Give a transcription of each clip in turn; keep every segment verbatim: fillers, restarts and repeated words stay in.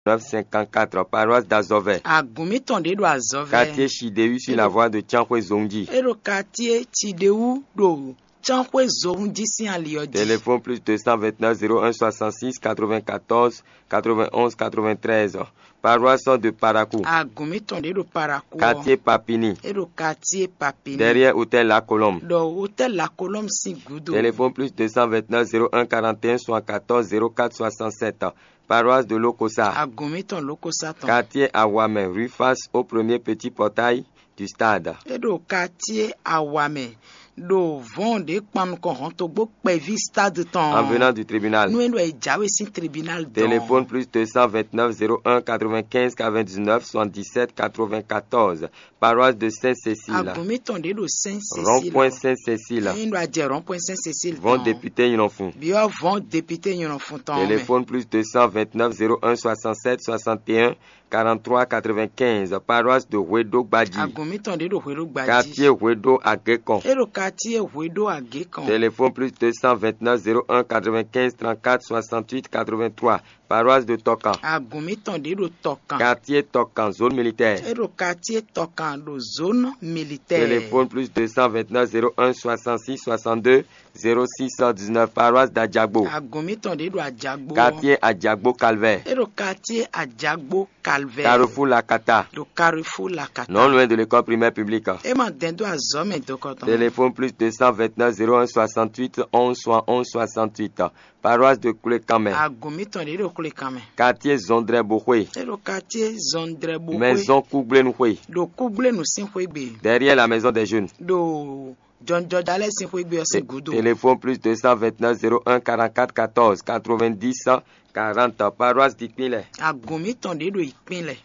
neuf cinquante-quatre, paroisse d'Azovè. Agun mitɔn ɖě ɖo azɔ vɛ. Quartier Chidéhu sur la voie de Tiankhoué Zongji. É ɖo quartier Chidéhu ɖo Tiankhoué Zongji sín ali ɔ́ jí. Téléphone plus deux cent vingt-neuf zéro un soixante-six quatre-vingt-quatorze quatre-vingt-onze quatre-vingt-treize. Paroisse de Parakou. Agun mitɔn ɖě ɖo Parakou. Quartier Papini. É ɖo quartier Papini. Derrière hôtel La Colombe. Ɖo hôtel La Colombe sín gǔdo. Téléphone plus deux cent vingt-neuf zéro un quarante et un soixante-quatorze zéro quatre soixante-sept. Paroisse de Lokosa. Agun mitɔn Lokosa tɔn. Quartier Awamɛ, rue face au premier petit portail du stade. É ɖo quartier Awamɛ ɖo vɔn ɖě kpan nukɔn hɔntogbó kpɛví stade tɔn. En venant du tribunal. Nú é ɖo yi jáwé sín tribunal dɔn. Téléphone plus deux cent vingt-neuf zéro un quatre-vingt-quinze quatre-vingt-dix-neuf soixante-dix-sept quatre-vingt-quatorze. Paroisse de Sainte-Cécile. Agun mitɔn ɖě ɖo Sainte-Cécile. Rond-point Sainte-Cécile. Ɛyin ɖo ajɛ rond-point Sainte-Cécile. Vɔn député Nyɔnfun. Biɔ vɔn député Nyɔnfun tɔn. Téléphone plus deux cent vingt-neuf zéro un soixante-sept soixante et un quarante-trois quatre-vingt-quinze. Paroisse de Hwedo Gbadji. Agun mitɔn ɖě ɖo Hwedo Gbadji. Quartier Hwedo Agekɔn. É ɖo quartier Hwedo Agekɔn. Téléphone plus deux cent vingt-neuf zéro un quatre-vingt-quinze trente-quatre soixante-huit quatre-vingt-trois. Paroisse de Tɔkan. Agun mitɔn ɖě ɖo Tɔkan. Quartier Tɔkan, zone militaire. É ɖo quartier Tɔkan ɖo zone militaire. Téléphone plus deux cent vingt-neuf zéro un soixante-six soixante-deux zéro six dix-neuf, paroisse d'Adjagbo. Agun mitɔn ɖě ɖo Ajagbo. Quartier Adjagbo Calvaire. É ɖo quartier Ajagbo Calvaire. Carrefour Lakata. Ɖo Carrefour Lakata. Non loin de l'école primaire publique. É ma dɛn dó azɔ̌ mɛ dokɔtɔn. Téléphone plus deux cent vingt-neuf zéro un soixante-huit onze soixante-onze soixante-huit. Paroisse de Koulékanmɛ. Agun mitɔn ɖě ɖo Koulékanmɛ. Quartier Zɔndrɛboxwe. É ɖo quartier Zɔndrɛboxwe. Maison Kúgblénuxwe. Ɖo Kúgblénu sín xwégbe. Derrière la maison des jeunes. Ɖo jɔnjɔja lɛ́ɛ sín xwégbe ɔ́ sín gǔdo. Téléphone plus deux cent vingt-neuf zéro un quarante-quatre quatorze quatre-vingt-dix quarante. Paroisse d'Ikpínlẹ̀. Agun mitɔn ɖě ɖo Ikpínlẹ̀.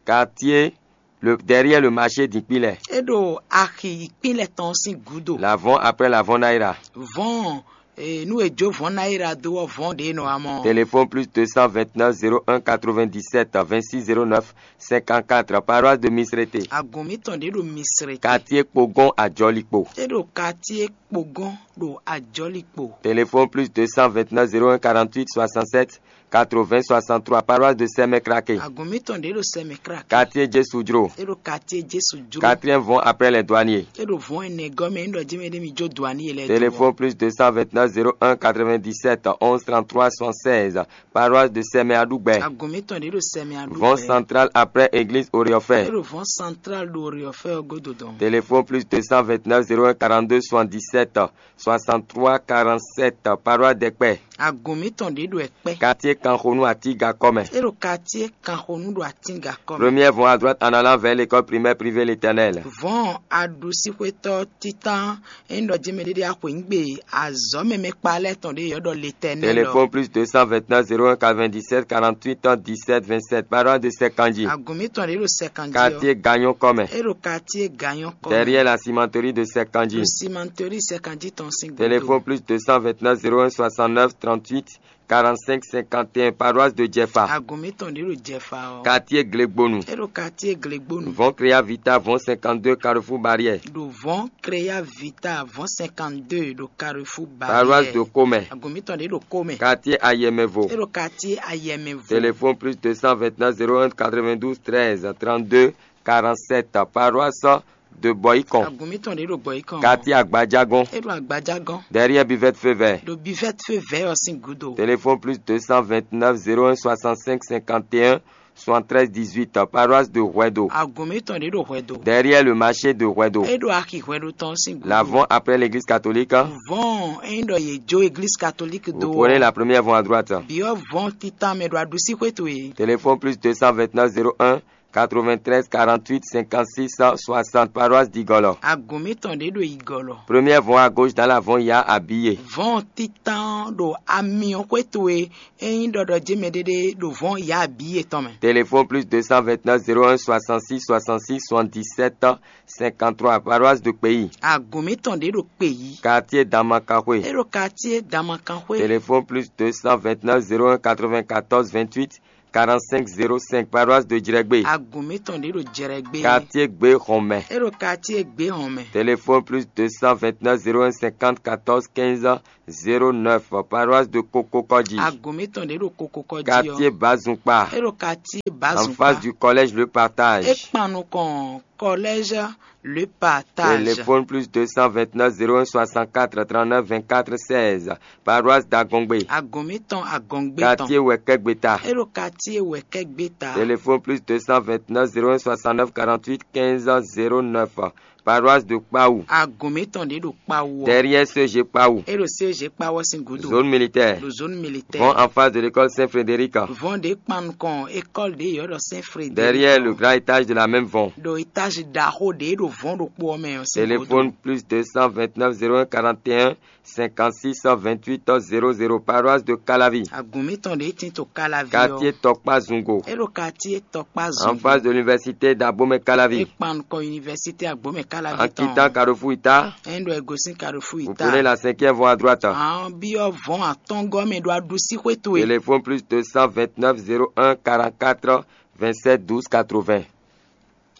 Quartier le, derrière le marché d'Ikpínlẹ̀. É ɖo axi Ikpínlẹ̀ tɔn sín gǔdo. L'avant après l'avant Naira. Vɔn ee, nú è jó vɔn ná yi ɖa dó ɔ́, vɔn ɖě nɔ amɔ. Téléphone plus deux cent vingt-neuf zéro un quatre-vingt-dix-sept vingt-six zéro neuf cinquante-quatre, paroisse de Misrete. Agun mitɔn ɖě ɖo Misrete. Quartier Kpogon Ajɔlikpo. É ɖo quartier Kpogon ɖo Ajɔlikpo. Téléphone plus deux cent vingt-neuf zéro un quarante-huit soixante-sept quatre-vingts soixante-trois, paroisse de Sɛmɛkrake. Agun mitɔn ɖě ɖo Sɛmɛkrake. Quartier Jesudro. É ɖo quartier Jesu jro. Quatrième vɔn après les douaniers. É ɖo vɔn ɛnɛ gɔmɛ ńdɔ jɛmɛ ɖé mi jó douanier lɛ. Téléphone plus deux cent vingt-neuf zéro un quatre-vingt-dix-sept onze trente-trois soixante-seize, paroisse de Sɛmɛ Aɖugbɛ. Agun mitɔn ɖě ɖo Sɛmɛ Aɖugbɛ. Vɔn central après église Oriɔfɛ. É ɖo vɔn central ɖo Oriɔfɛ ɔ́ godo dɔn. Téléphone plus deux cent vingt-neuf zéro un quarante-deux soixante-dix-sept soixante-trois quarante-sept, paroisse d'Ɛkpɛ. Agun mitɔn ɖě ɖo Ɛkpɛ. Quartier Kanxonu Atigakɔ mɛ. É ɖo quartier Kanxonu ɖo Atigakɔ mɛ. Première vont à droite en allant vers l'école primaire privée l'Éternel. Vɔn aɖusíxwétɔ́ títán é ɖɔ jɛmɛ ɖéɖé axwěnyígbe azɔ̌ mɛmɛ kpa lɛ́ɛ tɔn ɖě yɔ́ ɖɔ l'Éternel. Téléphone plus deux cent vingt-neuf zéro un quatre-vingt-dix-sept quarante-huit dix-sept vingt-sept, paroisse de Sɛkanji. Agun mitɔn ɖě ɖo Sɛkanji. Quartier Gagnon kɔmɛ. É ɖo quartier Gagnon kɔmɛ. Derrière la cimenterie de Sɛkanji. Ɖo cimenterie Sɛkanji tɔn sín gúdo. Téléphone plus deux cent vingt-neuf zéro un soixante-neuf trente-huit quarante-cinq cinquante et un, paroisse de Djefa. Agun mitɔn ɖě ɖo Djefa ɔ́. Quartier Glegbonu. É ɖo quartier Glegbonu. Vɔn Créa Vita, vɔn cinquante-deux carrefour Barrière. Ɖo vɔn Créa Vita, vɔn cinquante-deux ɖo carrefour Barrière. Paroisse de Komɛ. Agun mitɔn ɖě ɖo Komɛ. Quartier Ayɛmɛvo. É ɖo quartier Ayɛmɛvo. Téléphone plus deux cent vingt-neuf zéro un quatre-vingt-douze treize trente-deux quarante-sept, paroisse de Bɔyikɔn. Agun mitɔn ɖě ɖo Bɔyikɔn. Quartier Agbadjagɔn. É ɖo Agbadjagɔn. Derrière buvette feu vert. Ɖo buvette feu vert ɔ́ sín gúdo. Téléphone plus deux cent vingt-neuf zéro un soixante-cinq cinquante et un soixante-treize dix-huit, paroisse de Hwɛdo. Agun mitɔn ɖě ɖo Hwɛdo. Derrière le marché de Hwɛdo. É ɖo axi Hwɛdo tɔn sín gúdo. L'avant après l'église catholique. Vɔn é ɖɔ yě jó église catholique do. Vous prenez la première voie à droite. Biɔ vɔn titan mɛ ɖo aɖusí xwétu é. Téléphone plus deux cent vingt-neuf zéro un quatre-vingt-treize quarante-huit cinquante-six soixante, paroisse d'Igolo. Agun mitɔn ɖě ɖo Igolo. Première voie à gauche dans l'avant, il y a Abiye. Vɔn titan ɖo amiɔ xwétu é. Ényí ɖɔɖɔ jɛmɛ ɖéɖé ɖo vɔn ya Abiye tɔn mɛ. Téléphone plus deux cent vingt-neuf zéro un soixante-six soixante-six soixante-dix-sept cinquante-trois, paroisse de Kpeyi. Agun mitɔn ɖě ɖo Kpeyi. Quartier Damakaxwe. É ɖo quartier Damakanxwé. Téléphone plus deux cent vingt-neuf zéro un quatre-vingt-quatorze vingt-huit quarante-cinq zéro cinq, paroisse de Djrègbé. Agun mǐtɔn ɖě ɖo Djrègbé. Quartier Gbé Xɔnmɛ. É ɖo quartier Gbé Xɔnmɛ. Téléphone plus deux cent vingt-neuf zéro un cinquante quatorze quinze zéro neuf, paroisse de Kokokɔji. Agun mǐtɔn ɖě ɖo Kokokɔji ɔ́. Quartier Bazunpa. É ɖo quartier Bazunpa. En face du collège Le Partage. É kpan nukɔn collège Le Partage. Téléphone plus deux cent vingt-neuf zéro un soixante-quatre trente-neuf vingt-quatre seize, paroisse d'Agongbe. Agun mǐtɔn Agongbe tɔn. Quartier Wɛkɛgbeta. É ɖo quartier Wɛkɛgbeta. Téléphone plus deux cent vingt-neuf zéro un soixante-neuf quarante-huit quinze zéro neuf, paroisse de Kpawu. Agun mǐtɔn ɖě ɖo Kpawu ɔ́. Derrière C G Kpawu. É ɖo C G Kpawu ɔ́ sín gǔdo. Zone militaire. Ɖo zone militaire. Vɔn en face de l'école Saint-Frédéric. Vɔn ɖě kpan nukɔn école ɖě yɔ ɖɔ Saint-Frédéric. Derrière le grand étage de la même Vɔn. Ɖo étage ɖaxó ɖě ɖo Vɔn ɖokpó ɔ́ mɛ ɔ́ sín gǔdo. Téléphone plus deux cent vingt-neuf zéro un quarante et un cinquante-six vingt-huit zéro zéro, paroisse de Calavi. Agun mǐtɔn ɖě tin to Calavi ɔ́. Quartier Tɔkpa Zungo. É ɖo quartier Tɔkpa Zungo. En face de l'université d'Abomey Calavi. É kpan nukɔn université Agbomɛ Calavi tɔn. En quittant Carrefour Ita. É ɖo ego sín Carrefour Ita. Vous prenez la cinquième voie à droite. Àwọn byɔ́ Vɔn atɔ́ngɔ́ mɛ ɖo aɖusí xwé towe. Téléphone plus deux cent vingt-neuf zéro un quarante-quatre vingt-sept douze quatre-vingts.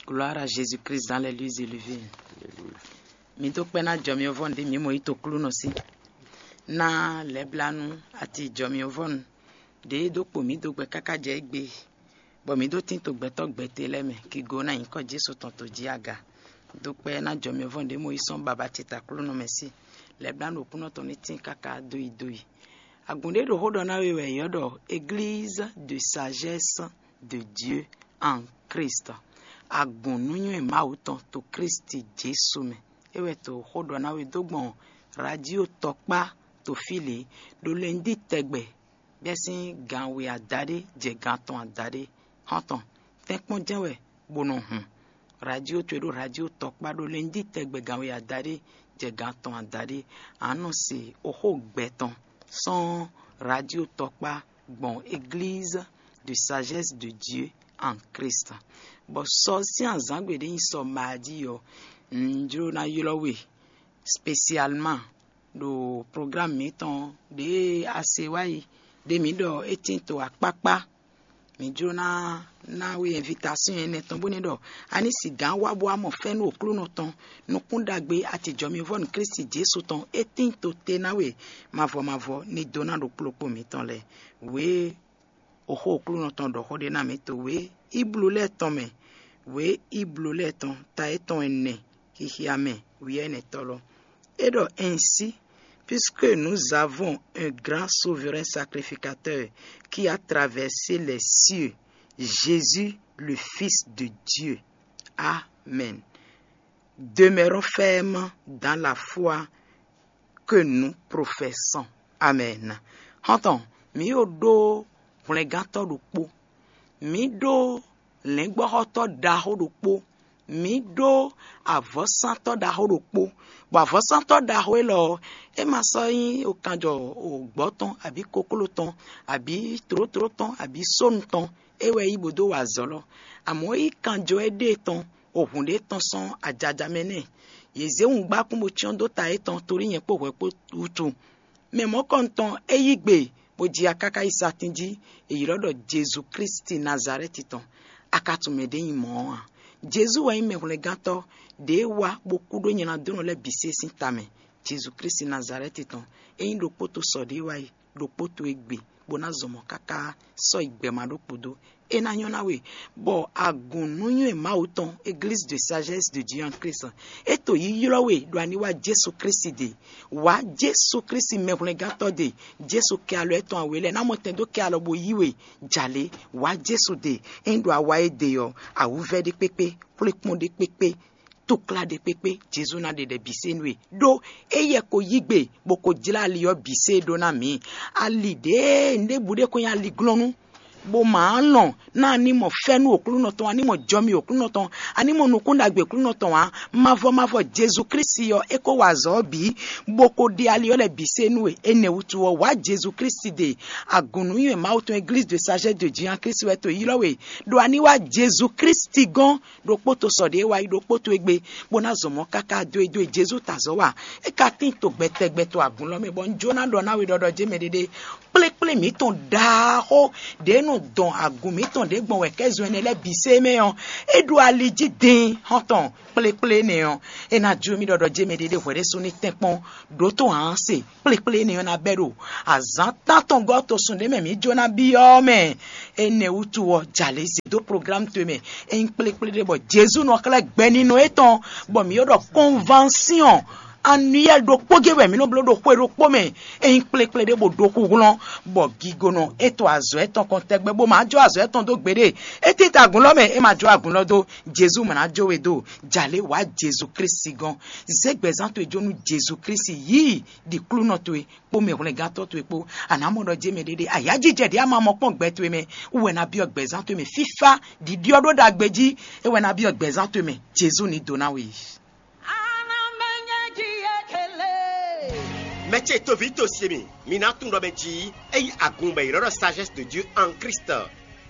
Gloire à Jésus-Christ dans les lieux élevés. Mi dó kpɛ́ ná jɔ mi vɔn ɖě mi mɔ yi to klúnɔ sí. Ná lɛblanu ati jɔ mi vɔn ɖě dó kpo mi dó gbɛ káká jɛ égbé, bɔ mi dó tín to gbɛtɔ́ gbɛtɛ́ lɛ́ɛ mɛ kigo ná nyǐkɔ Jesu tɔn to jí aga. Dó kpɛ́ ná jɔ mi vɔn ɖě mo yi sɔ́n baba ce ta klúnɔ mɛ sí. Lɛblanu ɖo kúnɔ tɔn ní tín káká dó yi dó yi. Agun ɖé ɖo xó ɖɔ ná we wɛ yě ɖɔ église de sagesse de Dieu en Christ. Agun nǔnywɛ́ Mawu tɔn to Kristi Jesu mɛ. É wɛ to xó ɖɔ ná we dó gbɔn radio tɔkpá to fí lě ɖo lɛndí tɛgbɛ bɛ́sín gan we adaɖé jɛ gan tɔn adaɖé. Xɔ́ntɔn, tɛ́nkpɔ́n jɛ́n wɛ bó nɔ hun. Radio towe ɖo radio tɔkpá ɖo lɛndí tɛgbɛ gan we adaɖé jɛ gan tɔn adaɖé. A nɔ se oxó gbɛ tɔn sɔ́n radio tɔkpá gbɔn église de sagesse de Dieu en Christ. Bɔ sɔ sín azǎngbe ɖé nyi sɔ mají ɔ́, un jló ná ylɔ́ we spécialement ɖo programme mǐtɔn ɖě a se wá yi ɖě mǐ ɖɔ é tín to akpákpá. Mǐ jló ná ná we invitation énɛ́ tɔn bónú ɖɔ a ní sigǎn wá bó wá mɔ fɛ́nú Aklúnɔ tɔn, nukún ɖagbe atijɔmivɔ́ nú Klísu Jezu tɔn. É tín to te ná we mavɔ mavɔ ní dó ná ɖo kplɔ́kpó mǐtɔn lɛ́ɛ. Wě oxó Aklúnɔ tɔn ɖɔ xó ɖé ná mǐ to wě Iblu lɛ́ɛ tɔn mɛ, wě Iblu lɛ́ɛ tɔn ta étɔn ɛnɛ, xixia mɛ, wiɛ́nɛtɔ́ lɔ. É ɖɔ ainsi, puisque nous avons un grand souverain sacrificateur qui a traversé les cieux, Jésus, le Fils de Dieu. Amen. Demeurons fermes dans la foi que nous professons. Amen. Xɔ́ntɔn, mǐ yo ɖó hwlɛngántɔ́ ɖokpó. Mǐ ɖó lɛ̌ngbɔ́xɔtɔ́ ɖaxó ɖokpó. Mǐ ɖó avɔ̌sántɔ́ ɖaxó ɖokpó. Bɔ avɔ̌sántɔ́ ɖaxó élɔ́ ɔ́, é ma sɔ́ nyí okanjɔ gbɔ̌ tɔn abǐ kokló tɔn abǐ tlǒtló tɔn abǐ sónu tɔn. É wɛ é yí bó dó wa azɔ̌ lɔ. Amɔ̌ é yí kanjɔ éɖée tɔn, ohun ɖé tɔn sɔ́n ajaja mɛ nɛ́. Yě zé wǔngbákún bó cyɔ́n dó ta yětɔn tlólí nyɛ kpó hwɛ kpó wútu. Mɛ mɔ̌kɔntɔn é yí gbe, bó ji akáká yi satín jí, è ylɔ́ ɖɔ Jezu Klísu Nazalɛ́ti tɔn. A ka tunwun mɛ ɖě nyí mɔ̌ ɔ́ a? Jezu wɛ nyí mɛhwlɛ́ngántɔ́ ɖě wá bó kú ɖó nyladónɔ lɛ́ɛ bǐ se sín ta mɛ. Jezu Klísu Nazalɛ́ti tɔn, é nyí ɖokpó to sɔ ɖě wá yi, ɖokpó to e gbe, bó ná zɔn mɔ̌ káká sɔ́ yi gbɛ ma ɖokpó dó. É ná nyɔ́ ná we, bɔ agun nǔnywɛ́ Mawu tɔn, Église de sagesse de Dieu en Christ, é to yi ylɔ́ we ɖo ani wá Jezu Klísu ɖe. Wǎ Jezu Klísu mɛhwlɛ́ngántɔ́ ɖe. Jezu kɛ alɔ étɔn awe lɛ́ɛ ná mɔ tɛn dó kɛ alɔ bó yí we. Jalě, wǎ Jezu ɖe. Ényí ɖo awa e ɖe ɔ́, awǔvɛ́ ɖé kpékpé, xwlékpɔ́n ɖé kpékpé, túklá ɖé kpékpé, Jezu ná ɖe ɖɛ bǐ se nú we. Ɖó éyɛ́ ko yí gbe, bó ko jlá ali ɔ́ bǐ se ɖó ná mǐ. Ali ɖěe un ɖěbǔ ɖé ko nyí ali glɔ́nú, bó ma lɔn Ná a ní mɔ fɛ́nú Aklúnɔ tɔn, a ní mɔ jɔmi Aklúnɔ tɔn, a ní mɔ nukún ɖagbe Aklúnɔ tɔn ǎ. Mavɔ mavɔ Jezu Klísu ɔ́, é ko wa azɔ̌ ɔ́ bǐ, bó ko ɖe ali ɔ́ lɛ́ɛ bǐ sé nú we. Énɛ́ wútu ɔ́, wǎ Jezu Klísu ɖe agun nǔnywɛ́ Mawu tɔn Église de Sagesse de Dieu en Christ wɛ to ylɔ́ we, ɖo a ní wá Jezu Klísu gɔ́n ɖokpó to sɔ ɖě e wá yi ɖokpó to égbé, bó ná zɔ mɔ̌ káká dó e dó e Jezu ta azɔ̌ wa. É ka tín to gbɛtɛgbɛ to agun lɔ mɛ, bɔ un jó ná ɖɔ ná we ɖɔɖɔ jɛ́n mɛ ɖéɖé. Kplékplé mǐtɔn ɖaxó ɖě nɔ dɔn agun mǐtɔn ɖě gbɔn wɛ kɛ́ zɔn ɛnɛ lɛ́ɛ bǐ sé mɛ ɔ́, é ɖo ali jí din xɔ́ntɔn kplékplé énɛ́ ɔ́, é ná jó mì ɖɔɖɔ jɛ́n mɛ ɖéɖé hwɛɖésú ní tɛ́nkpɔ́n ɖǒ tó hǎn se. Kplékplé énɛ́ ɔ́ ná bɛ́ ɖo azǎn tántɔngɔ́ to sun ɖé mɛ mǐ jó ná byɔ́ ɔ́ mɛ. Énɛ́ wútu ɔ́, jalě zě dó programme towe mɛ. É nyí kplékplé ɖé bɔ Jezu nɔ xlɛ́ gbɛnínɔ étɔn, bɔ mǐ ylɔ́ ɖɔ convention annuelle ɖokpó gé wɛ mǐ nɔ bló ɖo xwe ɖokpó mɛ. É nyí kplékplé ɖé bɔ ɖo xúhlɔ́n, bɔ gigonɔ é to azɔ̌ étɔn kɔn tɛgbɛ, bó ma jó azɔ̌ étɔn dó gbeɖé. É títá agun lɔ mɛ, é ma jó agun lɔ dó. Jezu ma ná jó we dó. Jalě wǎ Jezu Klísu gɔ́n. Zě gbɛzán towe jó nú Jezu Klísu, yí ɖi klúnɔ towe kpó mɛhwlɛ́ngántɔ́ towe kpó. A nǎ mɔ ɖɔ jɛ́n mɛ ɖéɖé, ayǎjijɛ ɖě a ma mɔ kpɔ́n gbɛ towe mɛ wú wɛ ná byɔ́ gbɛzán towe mɛ. Fífá ɖiɖyɔ́ ɖó ɖagbe jí é wɛ ná byɔ́ gbɛzán towe mɛ. Jezu ní dó ná we yi. Mɛ ce toví to se mi, mi ná tunwun ɖɔ mɛ jí é nyí agun bɔ è ylɔ́ ɖɔ Sagesse de Dieu en Christ.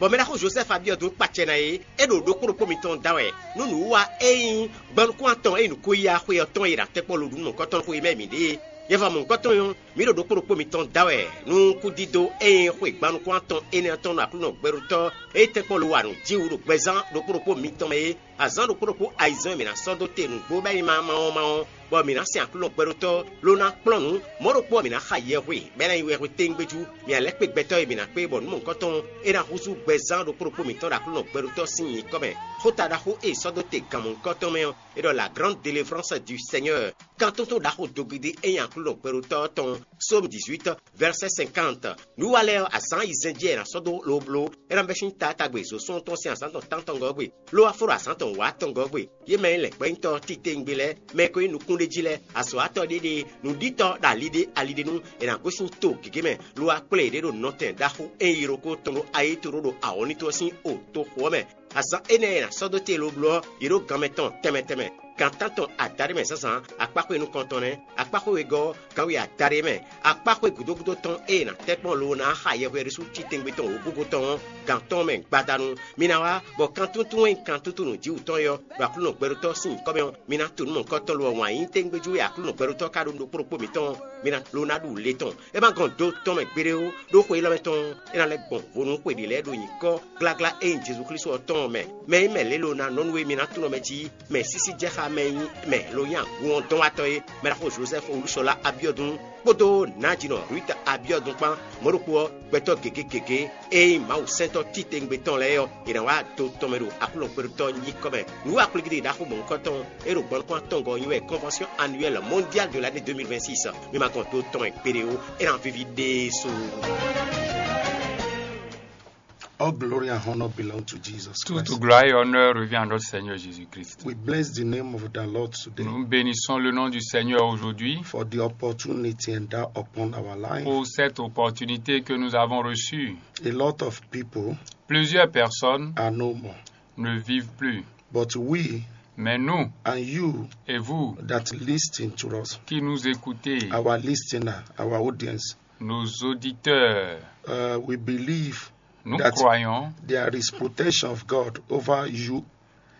Bɔ mɛ ɖaxó Josɛ́fu Abiɔdu kpacɛ ná é, é ɖo ɖokpó ɖokpó mitɔn da wɛ nú nǔwiwa e nyí gbɔnukún atɔn e nyí nǔkó-yíyá xwe ɔ́ tɔn e è nǎ tɛ́ kpɔ́ lodǔnnukɔntɔn xwe mɛ mǐ ɖe é. Yɛfamɔ̌hunkɔtɔn ɔ́, mǐ ɖo ɖokpó ɖokpó mitɔn da wɛ nú kúdídó e nyí xwe gbannukún atɔn énɛ́ ɔ́ tɔn ɖo Aklúnɔ gbɛɖótɔ́ e tɛ́ kpɔ́ lo wa nǔ jí wú ɖo gbɛzán ɖokpó ɖokpó mitɔn mɛ é. Azǎn ɖokpó ɖokpó ayizɛ́n e mǐ ná sɔ́ dó te nǔgbó bɔ é nyí ma ma ɔ́ ma ɔ́, bɔ mǐ ná sɛn Aklúnɔ gbɛɖótɔ́ ló ná kplɔ́n nǔ. Mɔ̌ ɖokpó ɔ́, mǐ ná xa yɛhwe bɔ é ná nyí wɛhwe téŋgbéjú. Mǐ ná lɛ́ kpé gbɛtɔ́ e mǐ ná kpé bɔ nǔ mɔ̌hunkɔtɔn é ná húzú gbɛzán ɖokpó ɖokpó mǐtɔn ɖo Aklúnɔ gbɛɖótɔ́ sín nyǐkɔ mɛ. Xóta ɖaxó e è sɔ́ dó te gan mɔ̌hunkɔtɔn mɛ ɔ́, é ɖɔ la grande délivrance du Seigneur. Kan tuntun ɖaxó dogidi e nyi Aklúnɔ gbɛɖótɔ́ ɔ́ tɔn. Sómu dix-huit, verset cinquante. Nǔ wa lɛ́ɛ ɔ́, azǎn ayizɛ́n jí wɛ è nǎ sɔ́ dó lobló. É ná bɛ́ sín taátagbe zǒsɔ́ntɔn sín azǎn tɔn tántɔngɔ́ gbe, ló wá fó ɖo azǎn tɔn wǎtɔngɔ́ gbe. Yě mɛ e lɛ̌ gbɛ́nyítɔ́ titewungbe lɛ́ɛ, mɛ e ko nyí nukúnɖéjí lɛ́ɛ, azɔ̌watɔ́ ɖéɖée, nǔɖítɔ́ ɖo ali ɖé ali ɖé nu, è nǎ gosín to gěgé mɛ, lo wá kplé yě ɖé ɖo nɔtɛn ɖaxó e nyí yiroko tɔn ɖo ayéto ɖó ɖo awɔ̌nítɔ́ ɔ́ sín o toxo ɔ́ mɛ. Azǎn énɛ́ e è nǎ sɔ́ dó te lobló ɔ́, yě ɖo gan mɛtɔn tɛnmɛ tɛnmɛ. Gan tántɔn adaɖé mɛ zǎnzǎn, akpáxwé nukɔntɔn nɛ́, akpáxwé wegɔ́ ɔ́, gan we adaɖé mɛ, akpáxwé gǔdo gúdo tɔn e è nǎ tɛ́ kpɔ́n lo ná xa yɛhweɖésú titewungbe tɔn wǒgógó tɔn ɔ́, gan tɔn mɛ gbadanu. Mi ná wá, bɔ kan túntún e nyí kan túntún nǔjíwǔ tɔn é ɔ́, ɖo Aklúnɔ gbɛɖótɔ́ sín nyǐkɔ mɛ ɔ́, mi ná tunú mɔ̌hunkɔtɔn lo ɔ́ wǎn yí tégbéjú e Aklúnɔ gbɛɖótɔ́ ka ɖó nú ɖokpó ɖokpó mǐtɔn ɔ́, mi ná lo ná ɖu le tɔn. É ma gɔn do tɔn mɛ gbeɖé ó, ɖó xwe élɔ́ mɛ tɔn ɔ́, é ná lɛ́ gbɔn vo nú xwe ɖě lɛ́ɛ ɖo nyǐkɔ gláglá e nyí Jezu Klísu ɔ́ tɔn ɔ́ mɛ. Mɛ e nyí mɛ lě lo ná nɔ nú e mi ná tunɔ mɛ jí mɛ sísí jɛ xá mɛ e nyí mɛ lo nyí agun ɔ́ dɔn watɔ́ é, mɛ ɖaxó Jozɛ́fu Olúṣɔlá Abiɔdun kpódó Nǎjinɔ Ruth Abiɔdun kpán. Mɔ̌ ɖokpó ɔ́, gbɛtɔ́ gěgé gěgé e nyí Mawu sɛntɔ́ titewungbe tɔn lɛ́ɛ ɔ́, è nǎ wá do tɔn mɛ ɖo Aklúnɔ gbɛɖótɔ́ nyíkɔ mɛ. Nǔ wa kplígídí ɖaxó mɔ̌hunkɔtɔn e ɖo gbɔnukún atɔngɔ́ ɔ́ nyí wɛ Convention Annuelle Mondiale de l'année deux mille vingt-six. Mi ma gɔn do tɔn mɛ gbeɖé ó, é ná víví ɖésú. All glory and honor belong to Jesus Toute Christ. Gloire et honneur revient à notre Seigneur Jésus-Christ. We bless the name of the Lord today Nous bénissons le nom du Seigneur aujourd'hui for the opportunity endowed upon our life. Pour cette opportunité que nous avons reçue. A lot of people Plusieurs personnes are no more. Ne vivent plus. But we Mais nous and you et vous that listen to us, qui nous écoutez, our listener, our audience, nos auditeurs, uh, we believe nous that croyons there is protection of God over you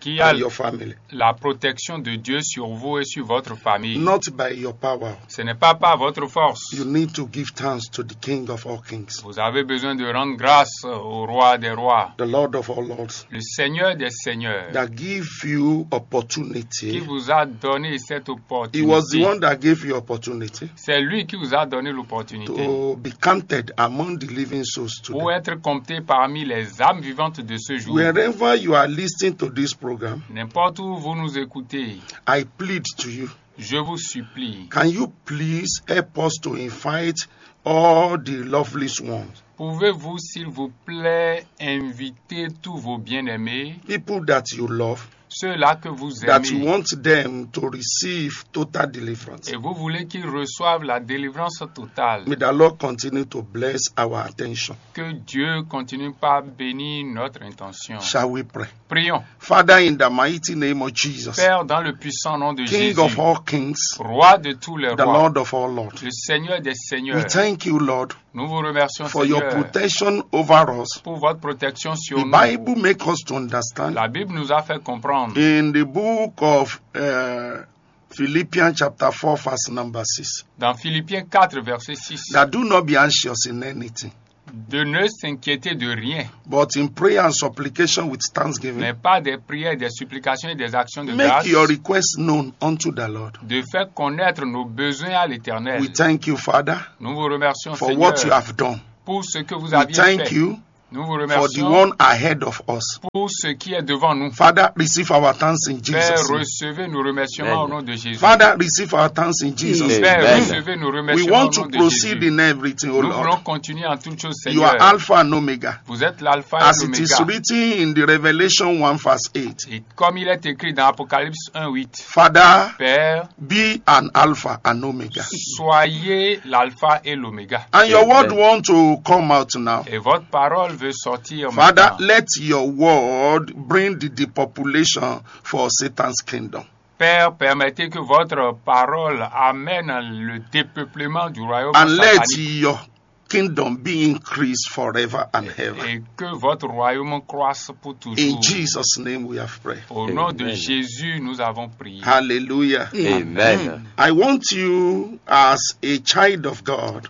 qu'il y a and your family. La protection de Dieu sur vous et sur votre famille. Not by your power. Ce n'est pas par votre force. You need to give thanks to the King of all kings, Vous avez besoin de rendre grâce au roi des rois, the Lord of all lords, le Seigneur des seigneurs, that give you qui opportunity. Vous a donné cette He was the opportunité. One that gave you opportunity C'est lui qui vous a donné l'opportunité to be counted among the living souls Pour today. Être compté parmi les âmes vivantes de ce jour. Wherever you are listening to this program, N'importe où vous nous écoutez, I plead to you. Je vous supplie, Can you please help us to invite all the loveliest ones, pouvez-vous, s'il vous plaît, inviter tous vos bien-aimés, people that you love, ceux-là que vous that you aimez want them to receive total deliverance. Et vous voulez qu'ils reçoivent la délivrance totale. May the Lord continue to bless our attention. Que Dieu continue par bénir notre intention. Shall we pray? Prions. Father, in the mighty name of Jesus, Père, dans le puissant nom de King Jésus, of all kings, Roi de tous les the rois, Lord of all lords, le Seigneur des we seigneurs, thank you, Lord, nous vous remercions, for your Seigneur, protection over us. Pour votre protection sur The nous. Bible makes us to understand La Bible nous a fait comprendre in the book of uh, Philippians chapter four, verse number six, dans Philippiens quatre, verset six, that do not be anxious in anything, de ne s'inquiéter de rien, but in prayer and supplication with thanksgiving, mais par des prières, des supplications et des actions de make grâce, your requests known unto the Lord. De faire connaître nos besoins à l'Éternel. We thank you, Father, Nous vous remercions, for Seigneur, what you have done. Pour ce que vous We aviez thank fait. You Nous vous for the remercions one ahead of us. Pour ce qui est devant nous. Father, receive our thanks in Père, Jesus' name. Recevez nos remerciements au nom de Jésus. Father, receive our thanks in Jesus' name. Père, Amen. Recevez nos We remerciements want au nom to de proceed Jésus. In everything, oh Nous voulons Lord. Continuer en toutes choses, You are Seigneur. Alpha and Omega. Vous êtes l'alpha As et it is l'oméga. Written in the Revelation one verse eight. Et comme il est écrit dans Apocalypse un huit, Father, Père, be an Alpha and Omega. Soyez l'alpha et l'oméga. And your word Amen. Want to come out now. Et votre parole veut sortir Father, maintenant. Let your word bring the depopulation for Satan's kingdom. Père, permettez que votre parole amène le dépeuplement du royaume And let satanique. Your kingdom be increased forever and ever. Et que votre royaume croisse pour toujours. In Jesus' name we have prayed. Au nom de Amen. Jésus, nous avons prié. Hallelujah. Amen. I want you, as a child of God,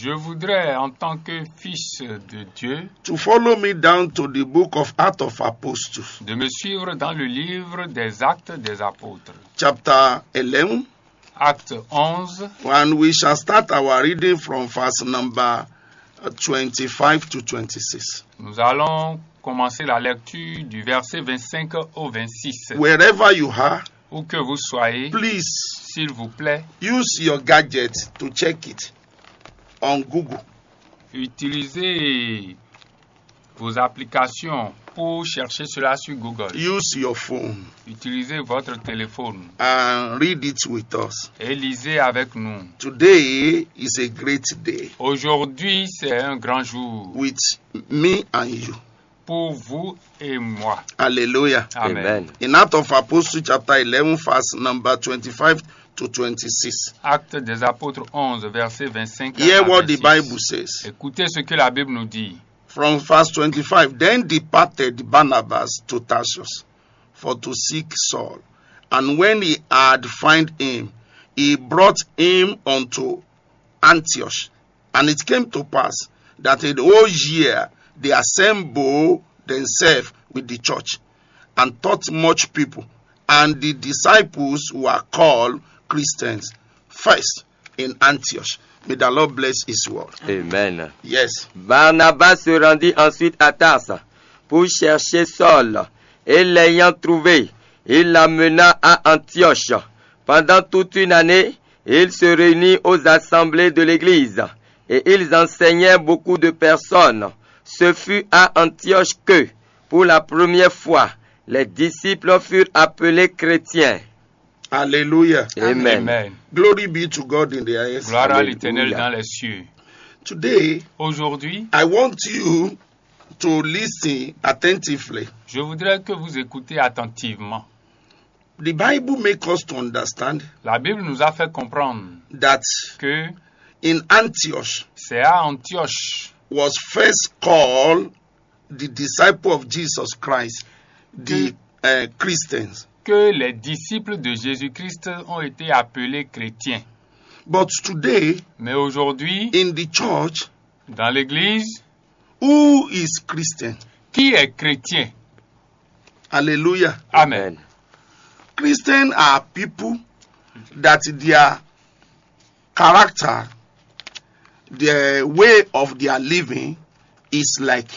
Je voudrais, en tant que fils de Dieu, to follow me down to the book of Acts of Apostles, de me suivre dans le livre des Actes des Apôtres, chapter eleven, Acte onze, and we shall start our reading from verse number uh, twenty-five to twenty-six. Nous allons commencer la lecture du verset vingt-cinq au vingt-six. Wherever you are, Où que vous soyez, please s'il vous plaît, use your gadget to check it on Google. Utilisez vos applications pour chercher cela sur Google. Use your phone Utilisez votre téléphone and read it with us. Et lisez avec nous. Today is a great day. Aujourd'hui, c'est un grand jour. With me and you. Pour vous et moi. Hallelujah. Amen. Amen. In Acts of Apostles chapter eleven, verse number twenty-five to twenty-six. Actes des Apôtres onze, verset vingt-cinq Hear à what the vingt-six. Bible says. Écoutez ce que la Bible nous dit. From verse twenty-five, then departed Barnabas to Tarsus for to seek Saul. And when he had found him, he brought him unto Antioch. And it came to pass that in the whole year they assembled themselves with the church and taught much people. And the disciples were called Christians first in Antioch. May the Lord bless his word. Amen. Yes. Barnabas se rendit ensuite à Tarse pour chercher Saul, et l'ayant trouvé, il l'amena à Antioche. Pendant toute une année, ils se réunirent aux assemblées de l'Église, et ils enseignaient beaucoup de personnes. Ce fut à Antioche que, pour la première fois, les disciples furent appelés chrétiens. Hallelujah. Amen. Amen. Glory be to God in the highest. Gloire à Alléluia. L'Éternel dans les cieux. Today, Aujourd'hui, I want you to listen attentively. Je voudrais que vous écoutez attentivement. The Bible makes us to understand La Bible nous a fait comprendre that que in Antioch c'est à Antioche was first called the disciple of Jesus Christ, the uh, Christians. Que les disciples de Jésus-Christ ont été appelés chrétiens. But today, Mais aujourd'hui, in the church, dans l'Église, who is Christian? Qui est chrétien? Hallelujah. Amen. Christians are people that their character, their way of their living is like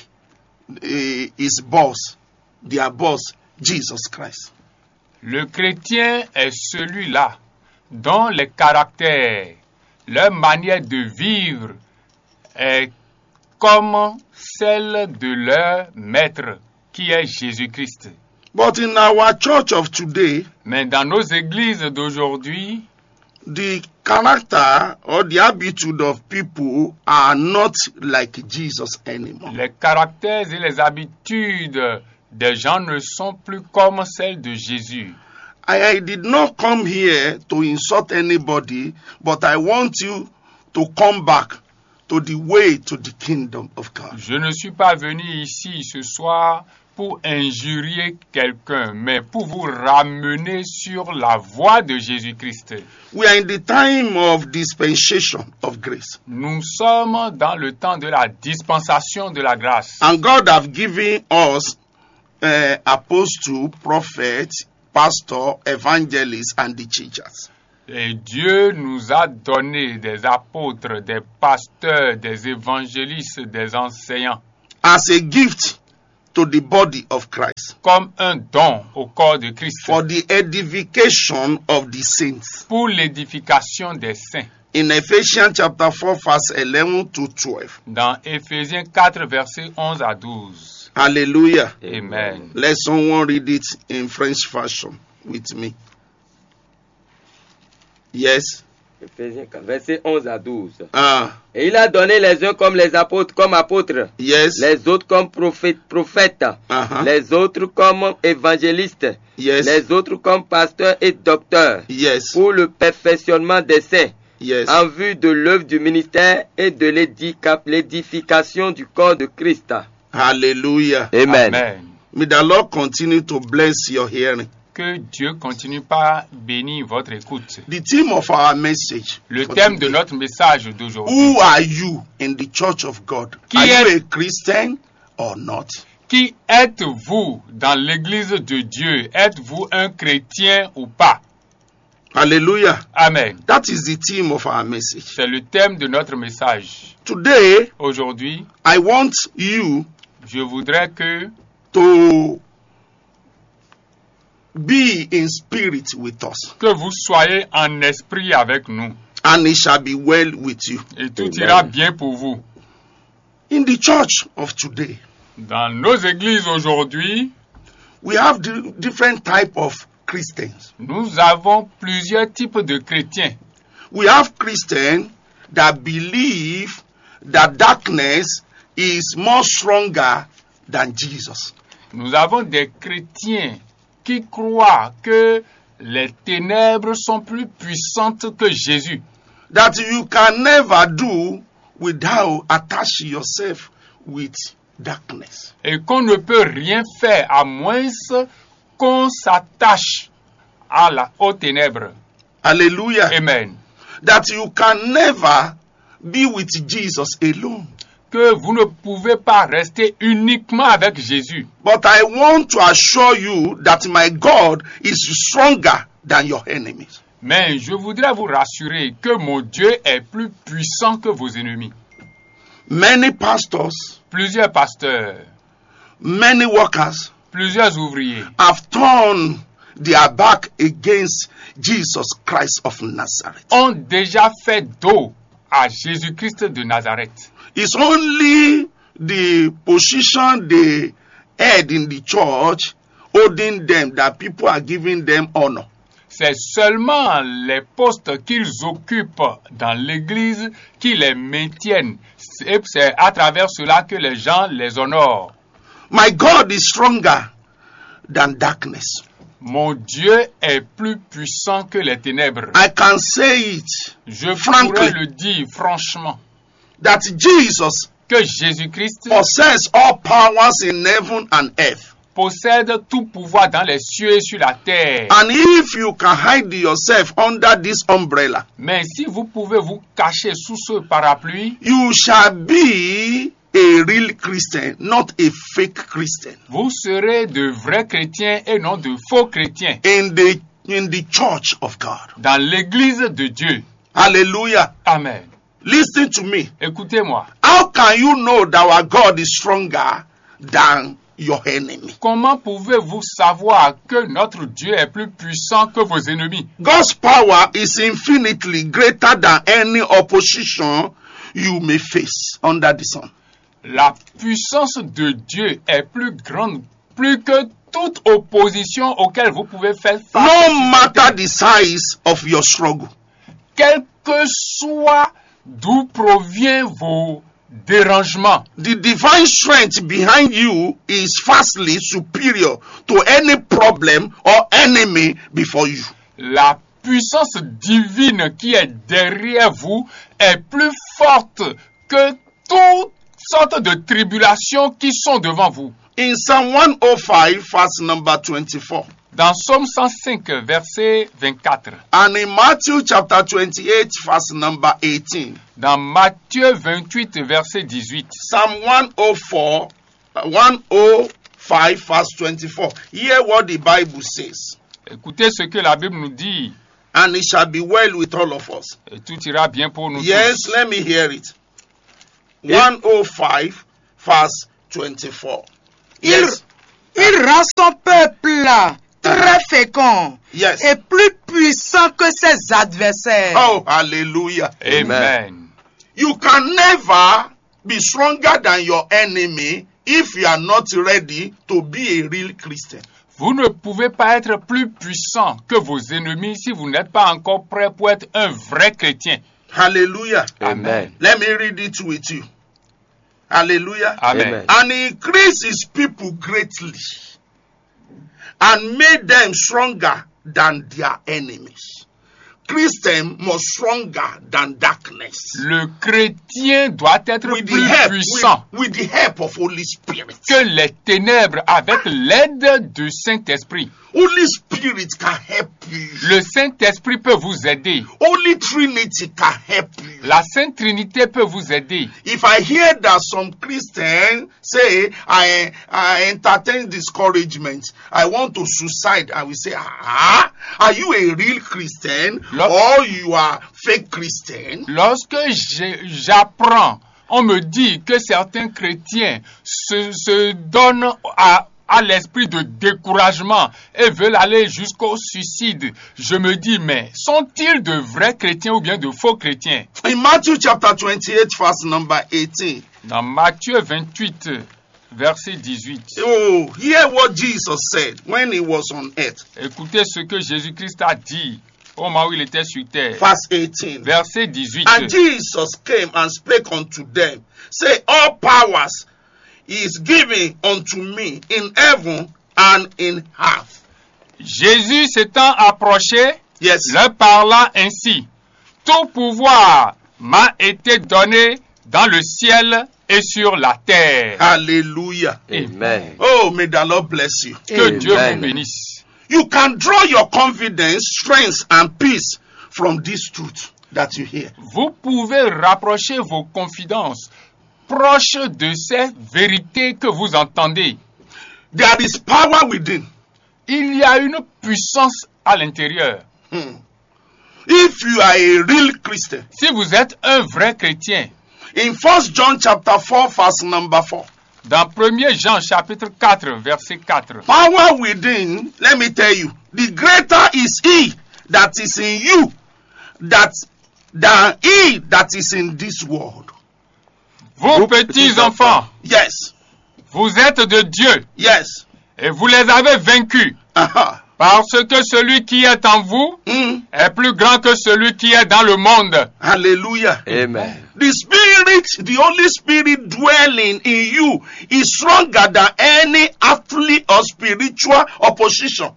uh, his boss, their boss, Jesus Christ. Le chrétien est celui-là dont les caractères, leur manière de vivre est comme celle de leur maître, qui est Jésus-Christ. But in our church of today, Mais dans nos églises d'aujourd'hui, the character or the attitude of people are not like Jesus anymore. Les caractères et les habitudes des gens ne sont plus comme celles de Jésus. I, I did not come here to insult anybody, but I want you to come back to the way to the kingdom of God. Je ne suis pas venu ici ce soir pour injurier quelqu'un, mais pour vous ramener sur la voie de Jésus-Christ. We are in the time of dispensation of grace. Nous sommes dans le temps de la dispensation de la grâce. And God have given us uh, apostle, prophet, pastor, evangelist, and the teachers. Et Dieu nous a donné des apôtres, des pasteurs, des évangélistes, des enseignants as a gift to the body of Christ comme un don au corps de Christ for the edification of the saints. Pour l'édification des saints. In Ephesians chapter four, verse eleven to twelve. Dans Éphésiens quatre, versets onze à douze. Hallelujah. Amen. Let someone read it in French fashion with me. Yes. Éphésiens quatre, versets onze à douze. Ah, Et il a donné les uns comme les apôtres, comme apôtres, yes. Les autres comme prophètes, prophètes, Uh-huh. Les autres comme évangélistes, Yes. Les autres comme pasteurs et docteurs, Yes. Pour le perfectionnement des saints, Yes. En vue de l'œuvre du ministère et de l'édica- l'édification du corps de Christ. Hallelujah. Amen. Amen. May the Lord continue to bless your hearing. Que Dieu continue par bénir votre écoute. The theme of our message Le for thème de today. Notre message d'aujourd'hui. Who are you in the church of God? Qui Are you est- a Christian or not? Qui êtes-vous dans l'église de Dieu? Êtes-vous un chrétien ou pas? Hallelujah. Amen. That is the theme of our message. C'est le thème de notre message. Today, Aujourd'hui, I want you je voudrais que, to be in spirit with us. Que vous soyez en esprit avec nous. And it shall be well with you. Et tout ira bien pour vous. In the church of today, Dans nos églises aujourd'hui, we have di- different type of Christians. Nous avons plusieurs types de chrétiens. We have Christians that believe that darkness is more stronger than Jesus. Nous avons des chrétiens qui croient que les ténèbres sont plus puissantes que Jésus. That you can never do without attach yourself with darkness. Et qu'on ne peut rien faire à moins qu'on s'attache à la, aux ténèbres. Hallelujah. Amen. That you can never be with Jesus alone. Que vous ne pouvez pas rester uniquement avec Jésus. But I want to assure you that my God is stronger than your enemies. Mais je voudrais vous rassurer que mon Dieu est plus puissant que vos ennemis. Many pastors, Plusieurs pasteurs, many workers plusieurs ouvriers have turned their back against Jesus Christ of Nazareth. Ont déjà fait dos à Jésus-Christ de Nazareth. It's only the position they had in the church holding them that people are giving them honor. C'est seulement les postes qu'ils occupent dans l'Église qui les maintiennent. Et c'est à travers cela que les gens les honorent. My God is stronger than darkness. Mon Dieu est plus puissant que les ténèbres. I can say it Je Frankly. Pourrais le dire franchement that Jesus que Jésus-Christ possesses all powers in heaven and earth. Possède tout pouvoir dans les cieux et sur la terre. And if you can hide yourself under this umbrella, Mais si vous pouvez vous cacher sous ce parapluie, you shall be a real Christian, not a fake Christian. Vous serez de vrais chrétiens et non de faux chrétiens In the in the church of God. Dans l'église de Dieu. Hallelujah. Amen. Listen to me. Écoutez-moi. How can you know that our God is stronger than your enemy? Comment pouvez-vous savoir que notre Dieu est plus puissant que vos ennemis? God's power is infinitely greater than any opposition you may face under the sun. La puissance de Dieu est plus grande, plus que toute opposition auquel vous pouvez faire face, No matter the size of your struggle, quel que soit d'où provient vos dérangements. The divine strength behind you is vastly superior to any problem or enemy before you. La puissance divine qui est derrière vous est plus forte que toutes sortes de tribulations qui sont devant vous. In Psalm one oh five, verse number twenty-four, Dans Psaume cent cinq, verset vingt-quatre. And in Matthew chapter twenty-eight, verse number eighteen. Dans Matthieu vingt-huit, verset dix-huit. Psalm one oh four, uh, one oh five, verse twenty-four. Hear what the Bible says. Écoutez ce que la Bible nous dit, And it shall be well with all of us. Et tout ira bien pour nous Yes, tous. Let me hear it. One oh five, verse twenty-four. Il, Yes. il rend son peuple très fécond Yes. et plus puissant que ses adversaires. Oh, hallelujah. Amen. You can never be stronger than your enemy if you are not ready to be a real Christian. Vous ne pouvez pas être plus puissant que vos ennemis si vous n'êtes pas encore prêt pour être un vrai chrétien. Hallelujah. Amen. Let me read it with you. Hallelujah. Amen. Amen. And he increased his people greatly and made them stronger than their enemies. Christian more stronger than darkness. Le chrétien doit être With the plus help, puissant with, with the help of Holy Spirit. Que les ténèbres avec l'aide du Saint-Esprit. Holy Spirit can help you. Le Saint-Esprit peut vous aider. Holy Trinity can help you. La Sainte Trinité peut vous aider. If I hear that some Christians say I, I entertain discouragement, I want to suicide, I will say, ah, are you a real Christian Lo- or you are fake Christian? Lorsque j'ai- j'apprends, on me dit que certains chrétiens se, se donnent à, à l'esprit de découragement et veulent aller jusqu'au suicide. Je me dis, mais sont-ils de vrais chrétiens ou bien de faux chrétiens? In Matthew chapter twenty-eight, verse number eighteen. Dans Matthieu vingt-huit, verset dix-huit. Oh, hear what Jesus said when he was on earth. Écoutez ce que Jésus-Christ a dit au moment où il était sur terre. Verse eighteen. Verset dix-huit. And Jesus came and spake unto them, say, all powers is given unto me in heaven and in earth. Jésus s'étant approché, Yes. leur parla ainsi. Tout pouvoir m'a été donné dans le ciel et sur la terre. Hallelujah. Amen. Oh, may the Lord bless you. Que Dieu vous Amen. Bénisse. You can draw your confidence, strength, and peace from this truth that you hear. Vous pouvez rapprocher vos confidences proches de ces vérités que vous entendez. There is power within. Il y a une puissance à l'intérieur. If you are a real Christian, Si vous êtes un vrai chrétien, in First John chapter four, verse number four, dans premier Jean chapitre quatre, verset quatre, power within, let me tell you, the greater is he that is in you that than he that is in this world. vous petits enfants, Yes. Vous êtes de Dieu Yes. Et vous les avez vaincus, Uh-huh. Parce que celui qui est en vous Mm. Est plus grand que celui qui est dans le monde. Hallelujah. Amen. The Spirit, the Holy Spirit dwelling in you is stronger than any earthly or spiritual opposition.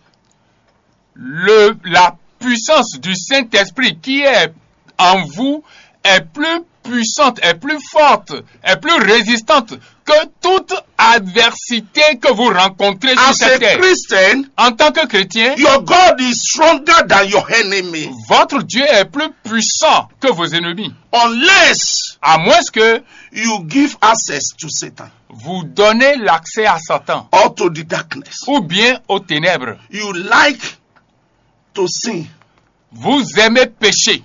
Le, la puissance du Saint-Esprit qui est en vous est plus puissante, est plus forte, est plus résistante que toute adversité que vous rencontrez sur As a cette terre. Christian, En tant que chrétien, your God is stronger than your enemy. Votre Dieu est plus puissant que vos ennemis. Unless À moins que you give access to Satan vous donnez l'accès à Satan or to the darkness. Ou bien aux ténèbres. You like to sin. Vous aimez pécher.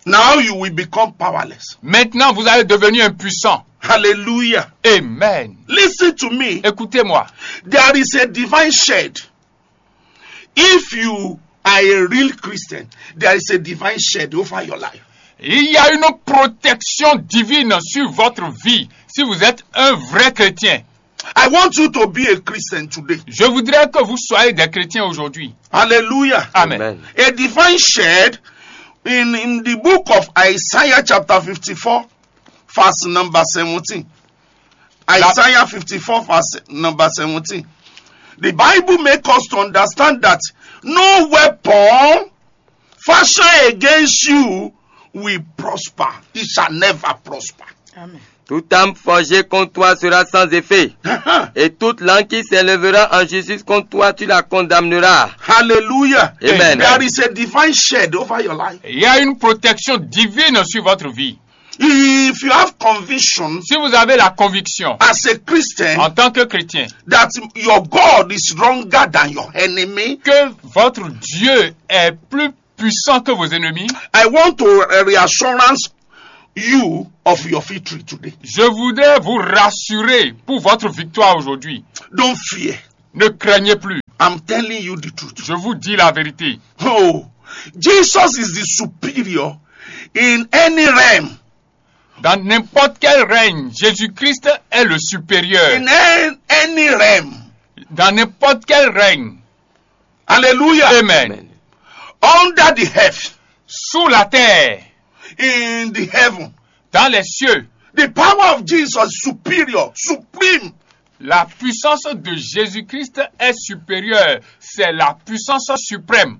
Now you will become powerless. Maintenant, vous allez devenir impuissant. Hallelujah. Amen. Listen to me. Écoutez-moi. There is a divine shed. If you are a real Christian, there is a divine shed over your life. Il y a une protection divine sur votre vie si vous êtes un vrai chrétien. I want you to be a Christian today. Je voudrais que vous soyez des chrétiens aujourd'hui. Hallelujah. Amen. Amen. A divine shed in, in the book of Isaiah chapter fifty-four, verse number seventeen. Isaiah fifty-four, verse number seventeen. The Bible makes us to understand that no weapon fashioned against you will prosper. It shall never prosper. Amen. Toute arme forgée contre toi sera sans effet, et toute langue qui s'élèvera en justice contre toi, tu la condamneras. Hallelujah. Amen. There is a divine shed over your life. Il y a une protection divine sur votre vie. If you have conviction, si vous avez la conviction, as a Christian, en tant que chrétien, that your God is stronger than your enemy, que votre Dieu est plus puissant que vos ennemis, I want to reassurance you of your victory today. Je voudrais vous rassurer pour votre victoire aujourd'hui. Don't fear. Ne craignez plus. I'm telling you the truth. Je vous dis la vérité. Oh, Jesus is the superior in any realm. Dans n'importe quel règne, Jésus-Christ est le supérieur. In an- any realm. Dans n'importe quel règne. Hallelujah. Amen. Under the earth. Sous la terre. In the heaven. Dans les cieux. The power of Jesus is superior, supreme. La puissance de Jésus-Christ est supérieure. C'est la puissance suprême.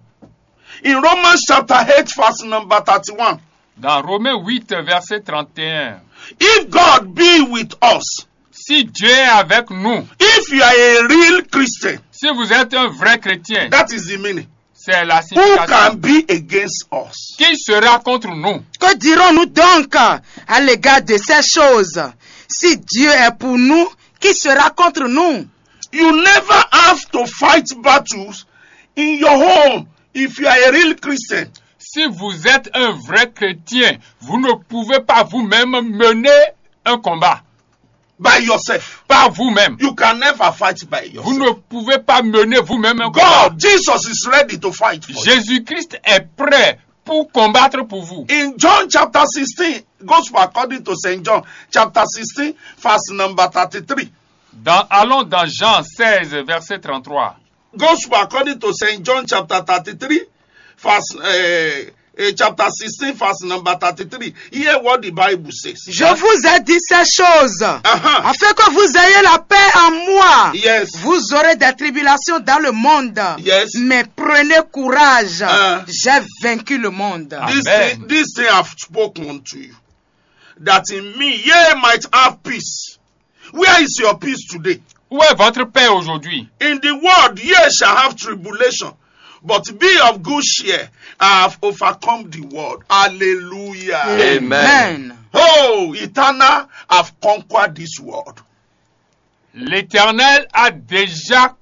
In Romans chapter eight, verse number thirty-one. Dans Romains huit, verset trente et un. If God be with us, si Dieu est avec nous, if you are a real Christian, si vous êtes un vrai chrétien, that is the meaning. C'est la signification. Who can be against us? Qui sera contre nous? Que dirons-nous donc à l'égard de ces choses? Si Dieu est pour nous, qui sera contre nous? You never have to fight battles in your home if you are a real Christian. Si vous êtes un vrai chrétien, vous ne pouvez pas vous-même mener un combat. By yourself. Par vous-même. You can never fight by yourself. Vous ne pouvez pas mener vous-même un combat. God, Jesus is ready to fight for you. Jésus-Christ est prêt pour combattre pour vous. In John chapter sixteen, Gospel according to Saint John, chapter sixteen, verse number thirty-three. Dans, allons dans Jean seize, verset trente-trois. Gospel according to Saint John chapter thirty-three, verse, uh, uh, chapter sixteen, verse number thirty-three. Hear what the Bible says. Je vous ai dit ces choses, uh-huh, afin que vous ayez la paix en moi. Yes. Vous aurez des tribulations dans le monde. Yes. Mais prenez courage. Uh. J'ai vaincu le monde. This, amen, thing, this thing I've spoken to you, that in me ye might have peace. Where is your peace today? Où est votre paix aujourd'hui? In the world, ye shall have tribulation, but be of good cheer. I have overcome the world. Hallelujah. Amen. Amen. Oh, eternal, I've conquered this world. L'Éternel a déjà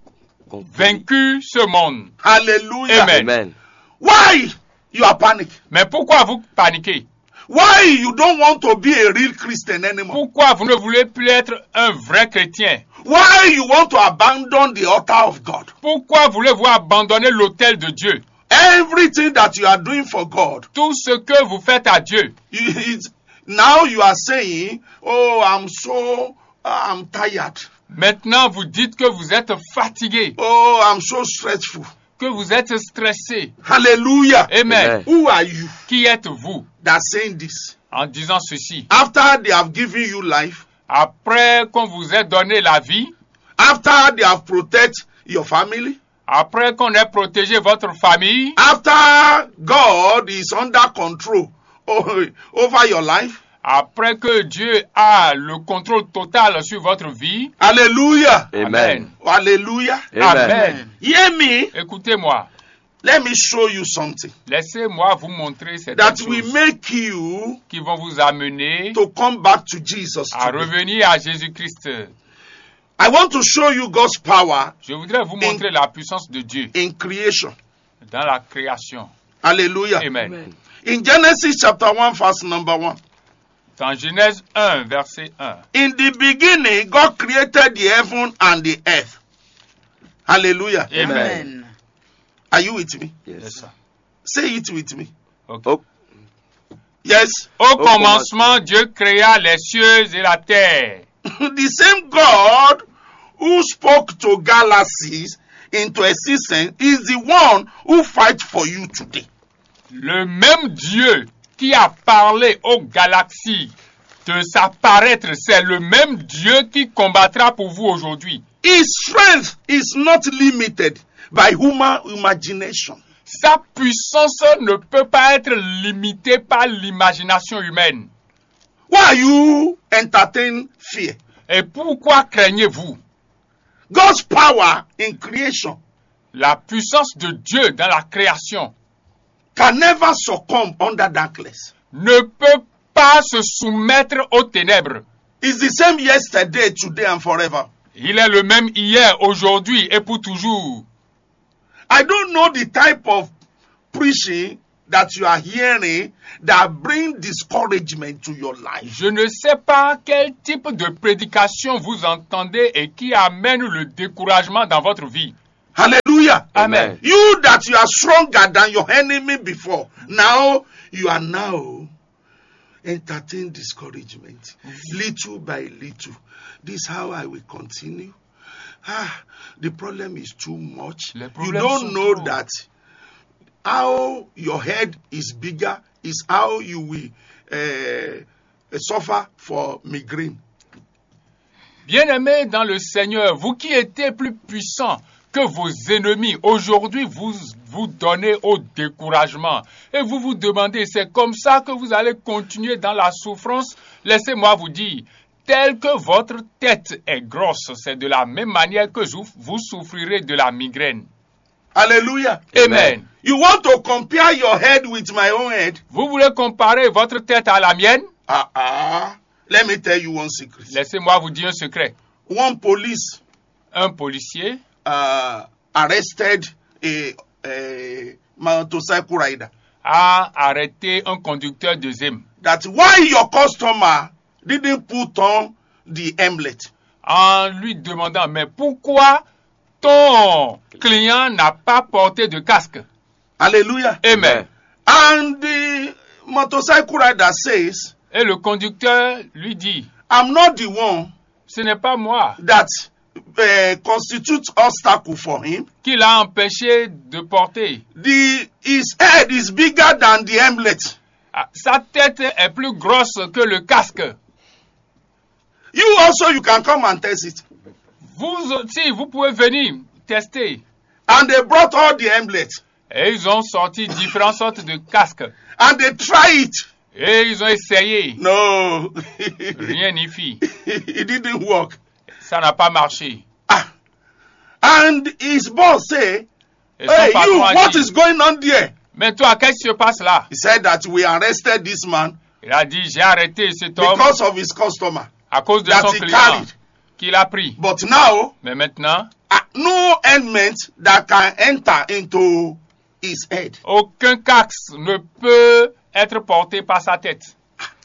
vaincu ce monde. Hallelujah. Amen. Amen. Why you are panic? Mais pourquoi vous paniquez? Why you don't want to be a real Christian anymore? Pourquoi vous ne voulez plus être un vrai chrétien? Why you want to abandon the altar of God? Pourquoi voulez-vous abandonner l'autel de Dieu? Everything that you are doing for God, tout ce que vous faites à Dieu, you- it- now you are saying, "Oh, I'm so, I'm tired. Maintenant, vous dites que vous êtes fatigué, Oh, I'm so stressful." Que vous êtes stressé. Hallelujah. Amen. Amen. Who are you? Qui êtes-vous? That saying this? En disant ceci. After they have given you life, après qu'on vous ait donné la vie, after they have protected your family, après qu'on ait protégé votre famille, after God is under control o- over your life, après que Dieu a le contrôle total sur votre vie. Hallelujah. Amen. Amen. Hallelujah. Amen. Amen. Hear me. Écoutez-moi. Let me show you something Laissez-moi vous montrer certaines that will choses make you qui vont vous amener to come back to Jesus à today. Revenir à Jésus-Christ. I want to show you God's power Je voudrais vous montrer la puissance de Dieu in creation. Dans la création. Hallelujah. Amen. Amen. In Genesis chapter one, verse number one. Dans Genèse un, verset un. In the beginning, God created the heaven and the earth. Hallelujah. Amen. Amen. Are you with me? Yes. Yes, sir. Say it with me. Okay. Oh. Yes. Au commencement, Dieu créa les cieux et la terre. The same God who spoke to galaxies into existence is the one who fight for you today. Le même Dieu qui a parlé aux galaxies de s'apparaître, c'est le même Dieu qui combattra pour vous aujourd'hui. His strength is not limited by human imagination. Sa puissance ne peut pas être limitée par l'imagination humaine. Why are you entertain fear? Et pourquoi craignez-vous? God's power in creation La puissance de Dieu dans la création can never succumb under darkness. Ne peut pas se soumettre aux ténèbres. It's the same yesterday, today, and forever. Il est le même hier, aujourd'hui et pour toujours. I don't know the type of preaching that you are hearing that bring discouragement to your life. Je ne sais pas quel type de prédication vous entendez et qui amène le découragement dans votre vie. Hallelujah. Amen. You that you are stronger than your enemy before, now you are now entertain discouragement little by little. This is how I will continue. Ah, the problem is too much. You don't know that how your head is bigger is how you will uh, suffer for migraine. Bien-aimés dans le Seigneur, vous qui étiez plus puissants que vos ennemis, aujourd'hui vous vous donnez au découragement et vous vous demandez, c'est comme ça que vous allez continuer dans la souffrance? Laissez-moi vous dire, telle que votre tête est grosse, c'est de la même manière que vous souffrirez de la migraine. Hallelujah. Amen. You want to compare your head with my own head? Vous voulez comparer votre tête à la mienne? Ah ah. Let me tell you one secret. Laissez-moi vous dire un secret. One police Un policier uh, arrested a, a motorcycle rider. A arrêté un conducteur de Zim. That why your customer didn't put on the helmet. En lui demandant, mais pourquoi ton client n'a pas porté de casque? Hallelujah. Amen. And the motorcycle rider says, Et le conducteur lui dit, I'm not the one ce n'est pas moi that uh, constitutes obstacle for him. Qui l'a empêché de porter. The, his head is bigger than the helmet. Ah, sa tête est plus grosse que le casque. You also, you can come and test it. Vous aussi, vous pouvez venir tester. And they brought all the helmets. Et ils ont sorti différentes sortes de casques. And they try it. Et ils ont essayé. No. Rien n'y fit. It didn't work. Ça n'a pas marché. Ah. And his boss say, et son patron a dit, what is going on there? Mais toi, qu'est-ce qui se passe là? He said that we arrested this man. Il a dit, j'ai arrêté cet homme because of his customer à cause de that son he client carried. Qu'il a pris. But now, mais maintenant, ah, no helmet that can enter into his head. Aucun casque ne peut être porté par sa tête.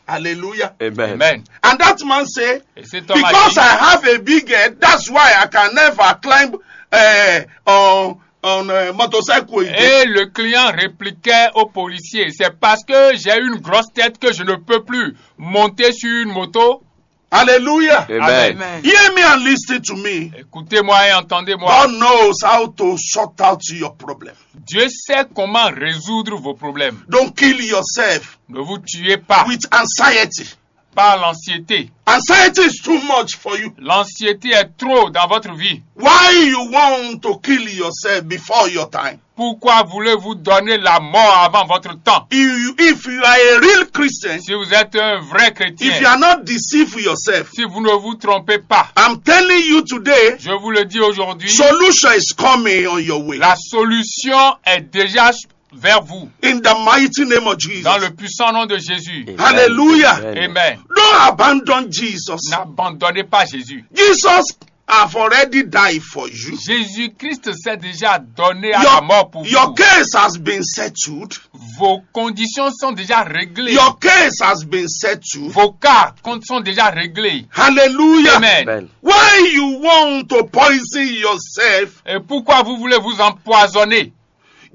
Hallelujah. Amen. Amen. And that man say, et cet homme a because dit, I have a big head, that's why I can never climb uh, on, on a motorcycle again. Et le client répliquait au policier, c'est parce que j'ai une grosse tête que je ne peux plus monter sur une moto. Hallelujah. Amen. Hear me and listen to me. Écoutez-moi et entendez-moi. God knows how to sort out your problem. Dieu sait comment résoudre vos problèmes. Don't kill yourself. Ne vous tuez pas. With anxiety. Par l'anxiété. Anxiety is too much for you. L'anxiété est trop dans votre vie. Why you want to kill yourself before your time? Pourquoi voulez-vous donner la mort avant votre temps? If you, if you are a real Christian, si vous êtes un vrai chrétien, if you are not deceived yourself, si vous ne vous trompez pas, I'm telling you today, je vous le dis aujourd'hui, solution is coming on your way. La solution est déjà vers vous. In the mighty name of Jesus. Dans le puissant nom de Jésus. Hallelujah. Amen. Don't abandon Jesus. N'abandonnez pas Jésus. Jesus have already died for you. Jésus-Christ s'est déjà donné à your, la mort pour your vous. Case has been settled. Vos conditions sont déjà réglées. Your case has been settled. Vos cas sont déjà réglés. Hallelujah. Amen. Amen. Why you want to poison yourself? Et pourquoi vous voulez vous empoisonner?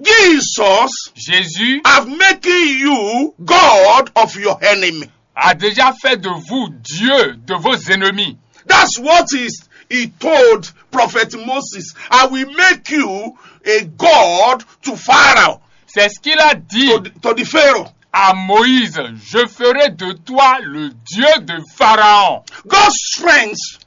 Jesus, Jésus, have making you God of your enemy. A déjà fait de vous Dieu de vos ennemis. That's what is He told Prophet Moses, "I will make you a god to Pharaoh, C'est ce qu'il a dit to, to the Pharaoh." À Moïse, je ferai de toi le Dieu de Pharaon. God's strength,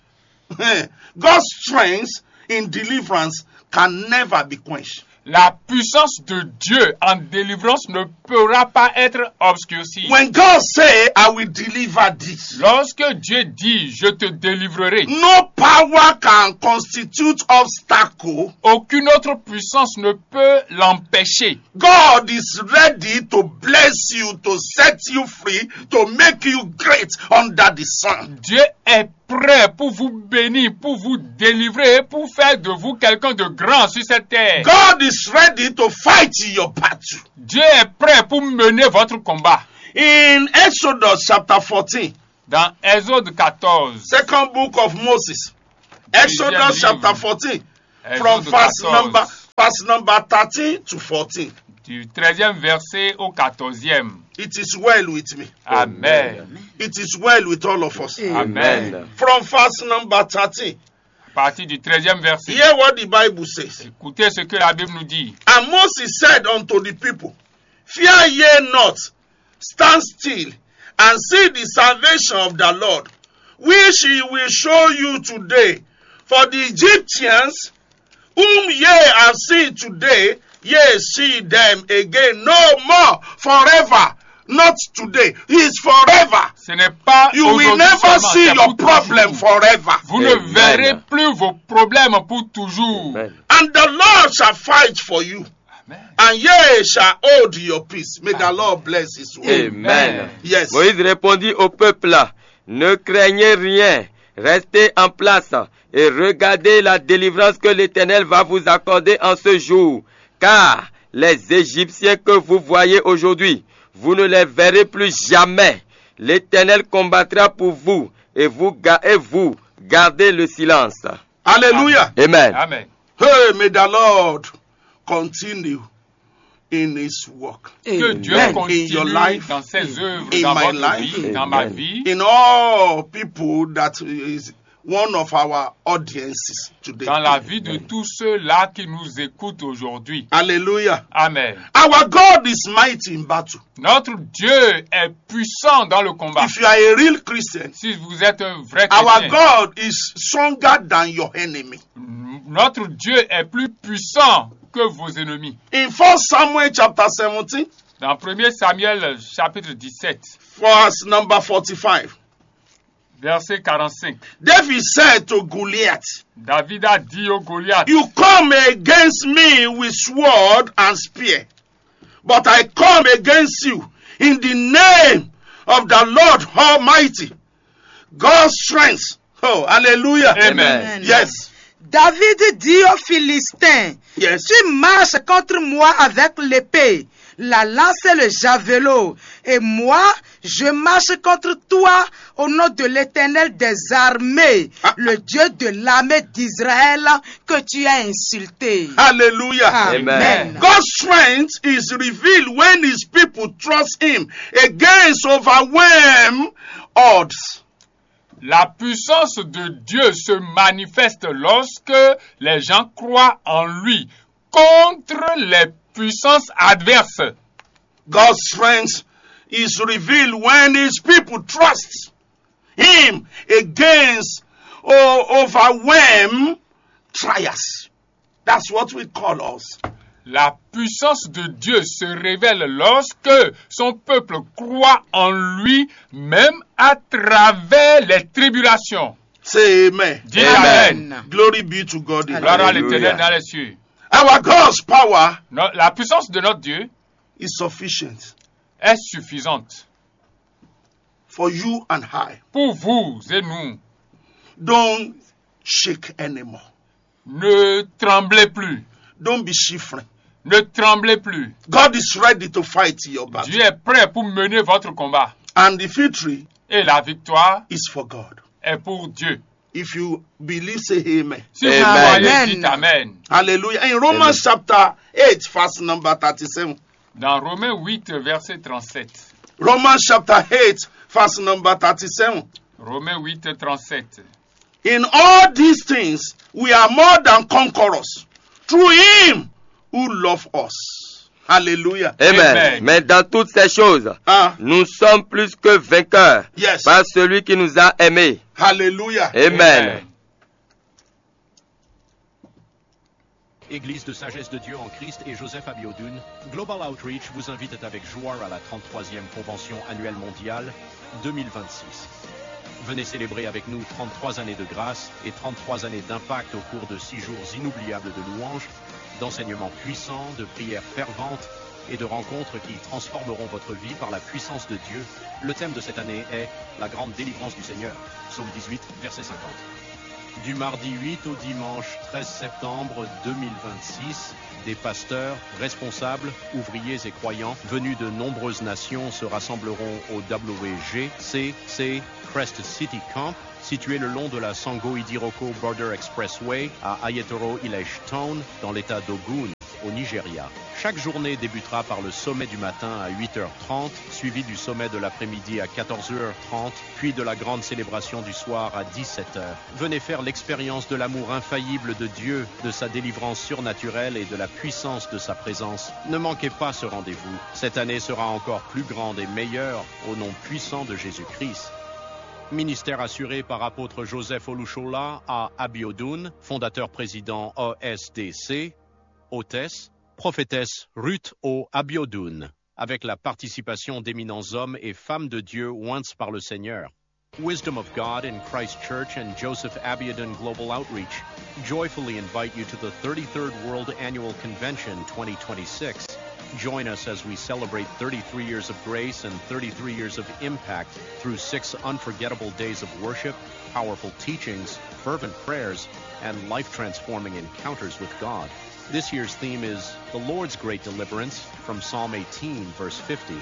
God's strength in deliverance can never be quenched. La puissance de Dieu en délivrance ne pourra pas être obscurcie. When God say, "I will deliver this," Lorsque Dieu dit, je te délivrerai, no power can constitute obstacle. Aucune autre puissance ne peut l'empêcher. God is ready to bless you, to set you free, to make you great under the sun. Dieu est prêt pour vous bénir, pour vous délivrer, pour faire de vous quelqu'un de grand sur cette terre. God is ready to fight your battle. Dieu est prêt pour mener votre combat. In Exodus chapter fourteen, Dans Exode quatorze, second book of Moses, Exodus livre. Chapter fourteen, from Exode verse number, quatorze, verse number thirteen to fourteen. Du treizième verset au quatorzième. It is well with me. Amen. It is well with all of us. Amen. From verse number thirteen, À partir du treizième verset, hear what the Bible says. Écoutez ce que la Bible nous dit. And Moses said unto the people, "Fear ye not, stand still, and see the salvation of the Lord, which he will show you today. For the Egyptians whom ye have seen today, ye see them again no more forever." Not today, it's forever. Ce n'est pas You will aujourd'hui never seulement, see c'est your pour problem toujours. Forever. Vous ne Amen. Verrez plus vos problèmes pour toujours. Amen. And the Lord shall fight for you, Amen. And ye shall hold your peace. May the Lord bless his word. Amen. Yes. Moïse répondit au peuple, ne craignez rien, restez en place et regardez la délivrance que l'Éternel va vous accorder en ce jour. Car les Égyptiens que vous voyez aujourd'hui, vous ne les verrez plus jamais. L'Éternel combattra pour vous et vous, ga- et vous gardez le silence. Hallelujah. Amen. Amen. Hey, may the Lord continue in his work. Que Dieu Amen. continue In your life, dans ses œuvres, in dans my votre life, vie, dans ma Amen. vie, In all people that is one of our audiences today. dans la vie de tous ceux-là qui nous écoutent aujourd'hui. Hallelujah. Amen. Our God is mighty in battle. Notre Dieu est puissant dans le combat. If you are a real Christian, Si vous êtes un vrai our chrétien, God is stronger than your enemy. Notre Dieu est plus puissant que vos ennemis. In First Samuel chapter seventeen, Dans premier Samuel chapitre dix-sept, verse number forty-five, verset quarante-cinq, David said to Goliath, David a dit au Goliath, "You come against me with sword and spear, but I come against you in the name of the Lord Almighty, God's strength." Oh, hallelujah. Amen. Yes. David dit aux Philistins, Yes. tu marches contre moi avec l'épée, la lance et le javelot, et moi, je marche contre toi au nom de l'Éternel des armées, le Dieu de l'armée d'Israël que tu as insulté. Hallelujah. Amen. God's strength is revealed when his people trust him against overwhelm odds. La puissance de Dieu se manifeste lorsque les gens croient en lui contre les puissances adverses. God's strength is revealed when his people trust him against o- overwhelm trials. That's what we call us. La puissance de Dieu se révèle lorsque son peuple croit en lui, même à travers les tribulations. Say amen. Dis amen. Glory be to God. In Gloire à heaven. l'Éternel dans les cieux. Our God's power Non, la puissance de notre Dieu is sufficient est suffisante for you and I. Pour vous et nous. Don't shake anymore. Ne tremblez plus. Don't be shivering. Ne tremblez plus. God is ready to fight your battle. Dieu est prêt pour mener votre combat. And the victory Et la victoire is for God. Est pour Dieu. If you believe, say amen. Si vous Amen. croyez, Amen. Dites amen. Hallelujah. In Romans Amen. Chapter eight, verse number thirty-seven. Dans Romains huit, verset trente-sept. Romans chapter eight, verse number thirty-seven. Romains huit, trente-sept. In all these things, we are more than conquerors through him who loved us. Hallelujah. Amen. Mais dans toutes ces choses, Ah, nous sommes plus que vainqueurs yes. Par celui qui nous a aimés. Hallelujah. Amen. Église de Sagesse de Dieu en Christ et Joseph Abiodun, Global Outreach vous invite avec joie à la trente-troisième Convention annuelle mondiale deux mille vingt-six. Venez célébrer avec nous trente-trois années de grâce et trente-trois années d'impact au cours de six jours inoubliables de louanges, d'enseignements puissants, de prières ferventes et de rencontres qui transformeront votre vie par la puissance de Dieu. Le thème de cette année est la grande délivrance du Seigneur. Psaume dix-huit, verset cinquante. Du mardi huit au dimanche treize septembre deux mille vingt-six, des pasteurs, responsables, ouvriers et croyants venus de nombreuses nations se rassembleront au W G C C Crest City Camp, situé le long de la Sango Idiroko Border Expressway à Ayetoro Village Town, dans l'état d'Ogun, au Nigeria. Chaque journée débutera par le sommet du matin à huit heures trente, suivi du sommet de l'après-midi à quatorze heures trente, puis de la grande célébration du soir à dix-sept heures. Venez faire l'expérience de l'amour infaillible de Dieu, de sa délivrance surnaturelle et de la puissance de sa présence. Ne manquez pas ce rendez-vous. Cette année sera encore plus grande et meilleure au nom puissant de Jésus-Christ. Ministère assuré par apôtre Joseph Olushola à Abiodun, fondateur président O S D C, hôtesse, prophétesse Ruth O Abiodun, avec la participation d'éminents hommes et femmes de Dieu oints par le Seigneur. Wisdom of God in Christ Church and Joseph Abiodun Global Outreach joyfully invite you to the thirty-third World Annual Convention twenty twenty-six. Join us as we celebrate thirty-three years of grace and thirty-three years of impact through six unforgettable days of worship, powerful teachings, fervent prayers, and life transforming encounters with God. This year's theme is The Lord's Great Deliverance from Psalm eighteen, verse fifty.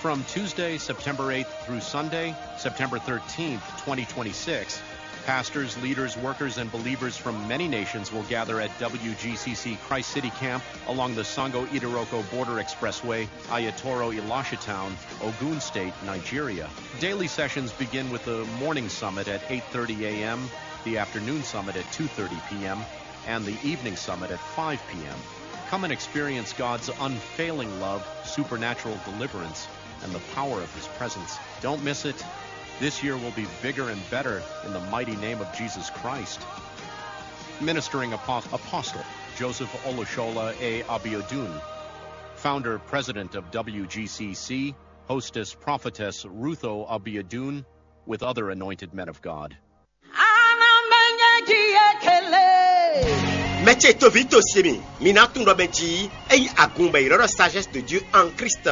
From Tuesday, September eighth through Sunday, September thirteenth, twenty twenty-six, pastors, leaders, workers, and believers from many nations will gather at W G C C Christ City Camp along the Sango Idiroko Border Expressway, Ayatoro Elisha Town, Ogun State, Nigeria. Daily sessions begin with the morning summit at eight thirty a m, the afternoon summit at two thirty p m, and the evening summit at five p m. Come and experience God's unfailing love, supernatural deliverance, and the power of His presence. Don't miss it. This year will be bigger and better in the mighty name of Jesus Christ. Ministering Apo- Apostle Joseph Olushola A. Abiodun, founder president of W G C C, hostess prophetess Rutho Abiodun, with other anointed men of God. Ana menye ji ekele. Mɛ ce toví to se mi, mi ná tunwun ɖɔ mɛ jí é nyí agun bɔ è ylɔ́ ɖɔ sagesse de Dieu en Christ.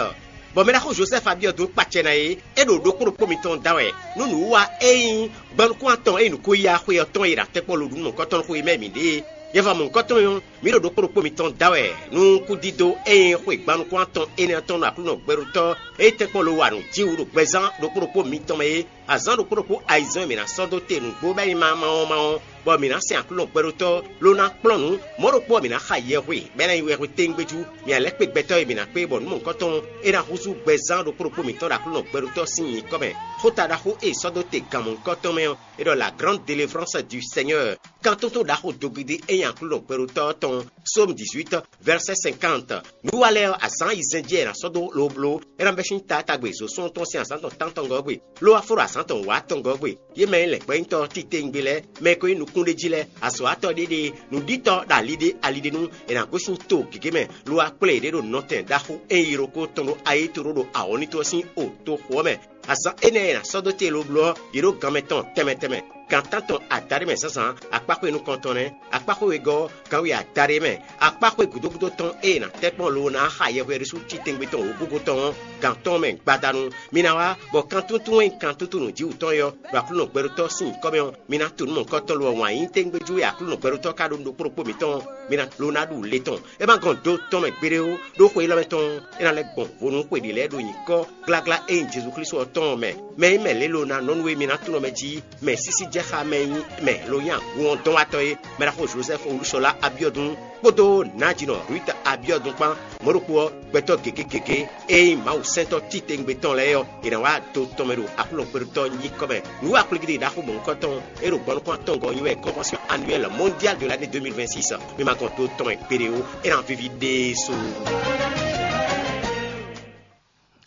Bɔ mɛ ɖaxó Joseph Abiodun kpacɛ ná é, é ɖo ɖokpó ɖokpó mitɔn da wɛ nú nǔwiwa e nyí gbɔnukún atɔn e nyí nǔkó ya xwe ɔ́ tɔn e ɖo atɛkpɔ́ lo ɖu nú mɔ̌hunkɔtɔn xwe mɛ mǐ ɖe é. Yɛva mɔ̌hunkɔtɔn ɔ́, mǐ ɖo ɖokpó ɖokpó mitɔn da wɛ nú kúdídó e nyí xwe gbɔnukún atɔn énɛ́ ɔ́ tɔn nú Aklúnɔ gbɛɖótɔ́ e tɛ́nkpɔ́n lo wa nǔ jí wú ɖo gbɛzán ɖokpó ɖokpó mitɔn mɛ é. Azǎn ɖokpó ɖokpó ayizɛ́n e mǐ ná sɔ́ dó te nǔgbó bɔ é nyí mawɔmawɔ, bɔ mǐ ná sɛn Aklúnɔ gbɛɖótɔ́ ló ná kplɔ́n nǔ. Mɔ̌ ɖokpó ɔ́, mǐ ná xa yɛhwe, bɔ é ná nyí wɛhwe téŋgbéjú. Mǐ ná lɛ́ kpé gbɛtɔ́ e mǐ ná kpé bɔ nǔ mɔ̌hunkɔtɔn é ná húzú gbɛzán ɖokpó ɖokpó mǐtɔn ɖo Aklúnɔ gbɛɖótɔ́ sín nyǐkɔ mɛ. Xóta ɖaxó e è sɔ́ dó te gan mɔ̌hunkɔtɔn mɛ ɔ́, é ɖɔ la grande délivrance du Seigneur. Kan tótó ɖaxó dogidi e nyí Aklúnɔ gbɛɖótɔ́ ɔ́ tɔn. Psaume dix-huit, verset cinquante. Nǔ wa lɛ́ɛ ɔ́, azǎn ayizɛ́n jí wɛ è nǎ sɔ́ dó lobló, é ná bɛ́ sín taatagbe zǒsúnɔ tɔn sín azǎn tɔn tántɔngɔ́ gbe, ló wá fó ɖo azǎn tɔn wǎtɔngɔ́ gbe. Yě mɛ e lɛ̌ gbɛ́ nyí tɔ́ titewungbe lɛ́ɛ, mɛ e ko nyí nukúnɖéjí lɛ́ɛ, azɔ̌watɔ́ ɖéɖée, nǔɖítɔ́ ɖo ali ɖé ali ɖé nu, è nǎ gosín to gěgé mɛ, lo wá kplé yěɖée ɖo nɔtɛn ɖaxó e nyí Yiroko tɔn ɖo ayéto ɖó ɖo awɔ̌nító ɔ́ sín o toxo ɔ́ mɛ. Azǎn énɛ́ e è nǎ sɔ́ dó te lobló ɔ́, yě ɖo ganmɛ tɔn tɛnmɛ tɛnmɛ. Gan tántɔn adaɖé mɛ zǎnzǎn, akpáxwé nukɔntɔn nɛ́, akpáxwé wegɔ́ ɔ́, ganwe adaɖé mɛ, akpáxwé gǔdógúdó tɔn e è nǎ tɛ́ kpɔ́n lobo ná xa yɛhweɖésú titewungbe tɔn wǒgúgú tɔn ɔ́, gan tɔn mɛ gbadanu. Mi ná wá, bɔ kan túntún e nyí kan túntún nǔjíwǔtɔn é ɔ́, ɖo Aklúnɔ gbɛɖótɔ́ sín nyǐkɔ mɛ ɔ́, mi ná to nǔ mɔ̌hunkɔtɔn lo ɔ́ wǎn yí tégbéjú e Aklúnɔ gbɛɖótɔ́ ka ɖó nú ɖokpó ɖokpó mǐtɔn ɔ́, mi ná lo ná ɖu le tɔn. É ma gɔn do tɔn mɛ gbeɖé ó, ɖó xwe élɔ́ mɛ tɔn ɔ́, é ná lɛ́ gbɔn vo nú xwe ɖě lɛ́ɛ ɖo nyǐkɔ gláglá e nyí Jezu Klísu ɔ́ tɔn ɔ́ mɛ. Mɛ e nyí mɛ lě lo ná nɔ nú we mi ná tunwun mɛ jí, mɛ sísí jɛ Xamɛ nyí mɛ lo nyí agun ɔ́ dɔn wá tɔn é, mɛ ɖaxó Joseph Olúṣọlá Abiodun kpódó nǎjínɔ Ruth Abiodun kpán, mɔ̌ ɖokpó ɔ́, gbɛtɔ́ gěgé gěgé e nyí Mawu sɛntɔ́ titewungbe tɔn lɛ́ɛ ɔ́, è nǎ wá do tɔn mɛ ɖo Aklúnɔ kpeɖotɔ́ nyíkɔ mɛ. Nǔ wa kplígídí ɖaxó mɔ̌hunkɔtɔn e ɖo gbɔnúkɔn atɔngɔ́ ɔ́ nyí wɛ Convention Annuelle Mondiale de l'année deux mille vingt-six. Mi ma gɔn do tɔn mɛ kpeɖé ó, é ná víví ɖésú.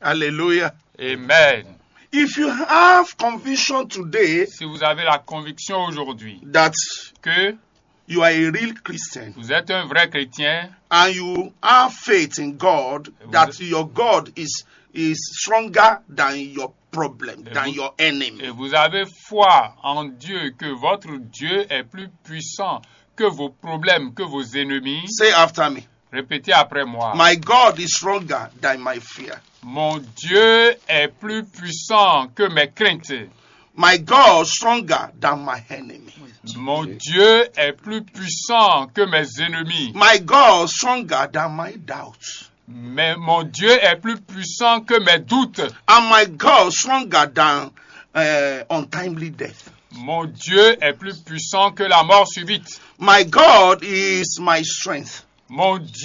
Hallelujah. Amen. If you have conviction today Si vous avez la conviction aujourd'hui that que you are a real Christian vous êtes un vrai chrétien and you have faith in God, that your God is is stronger than your problem, than your enemy. Et vous avez foi en Dieu, que votre Dieu est plus puissant que vos problèmes, que vos ennemis, Say after me. Répétez après moi. My God is stronger than my fear. Mon Dieu est plus puissant que mes craintes. My God stronger than my enemy. Mon Dieu est plus puissant que mes ennemis. My God stronger than my doubts. Mais mon Dieu est plus puissant que mes doutes. And my God stronger than uh, untimely death. Mon Dieu est plus puissant que la mort subite. My God is my strength. Mon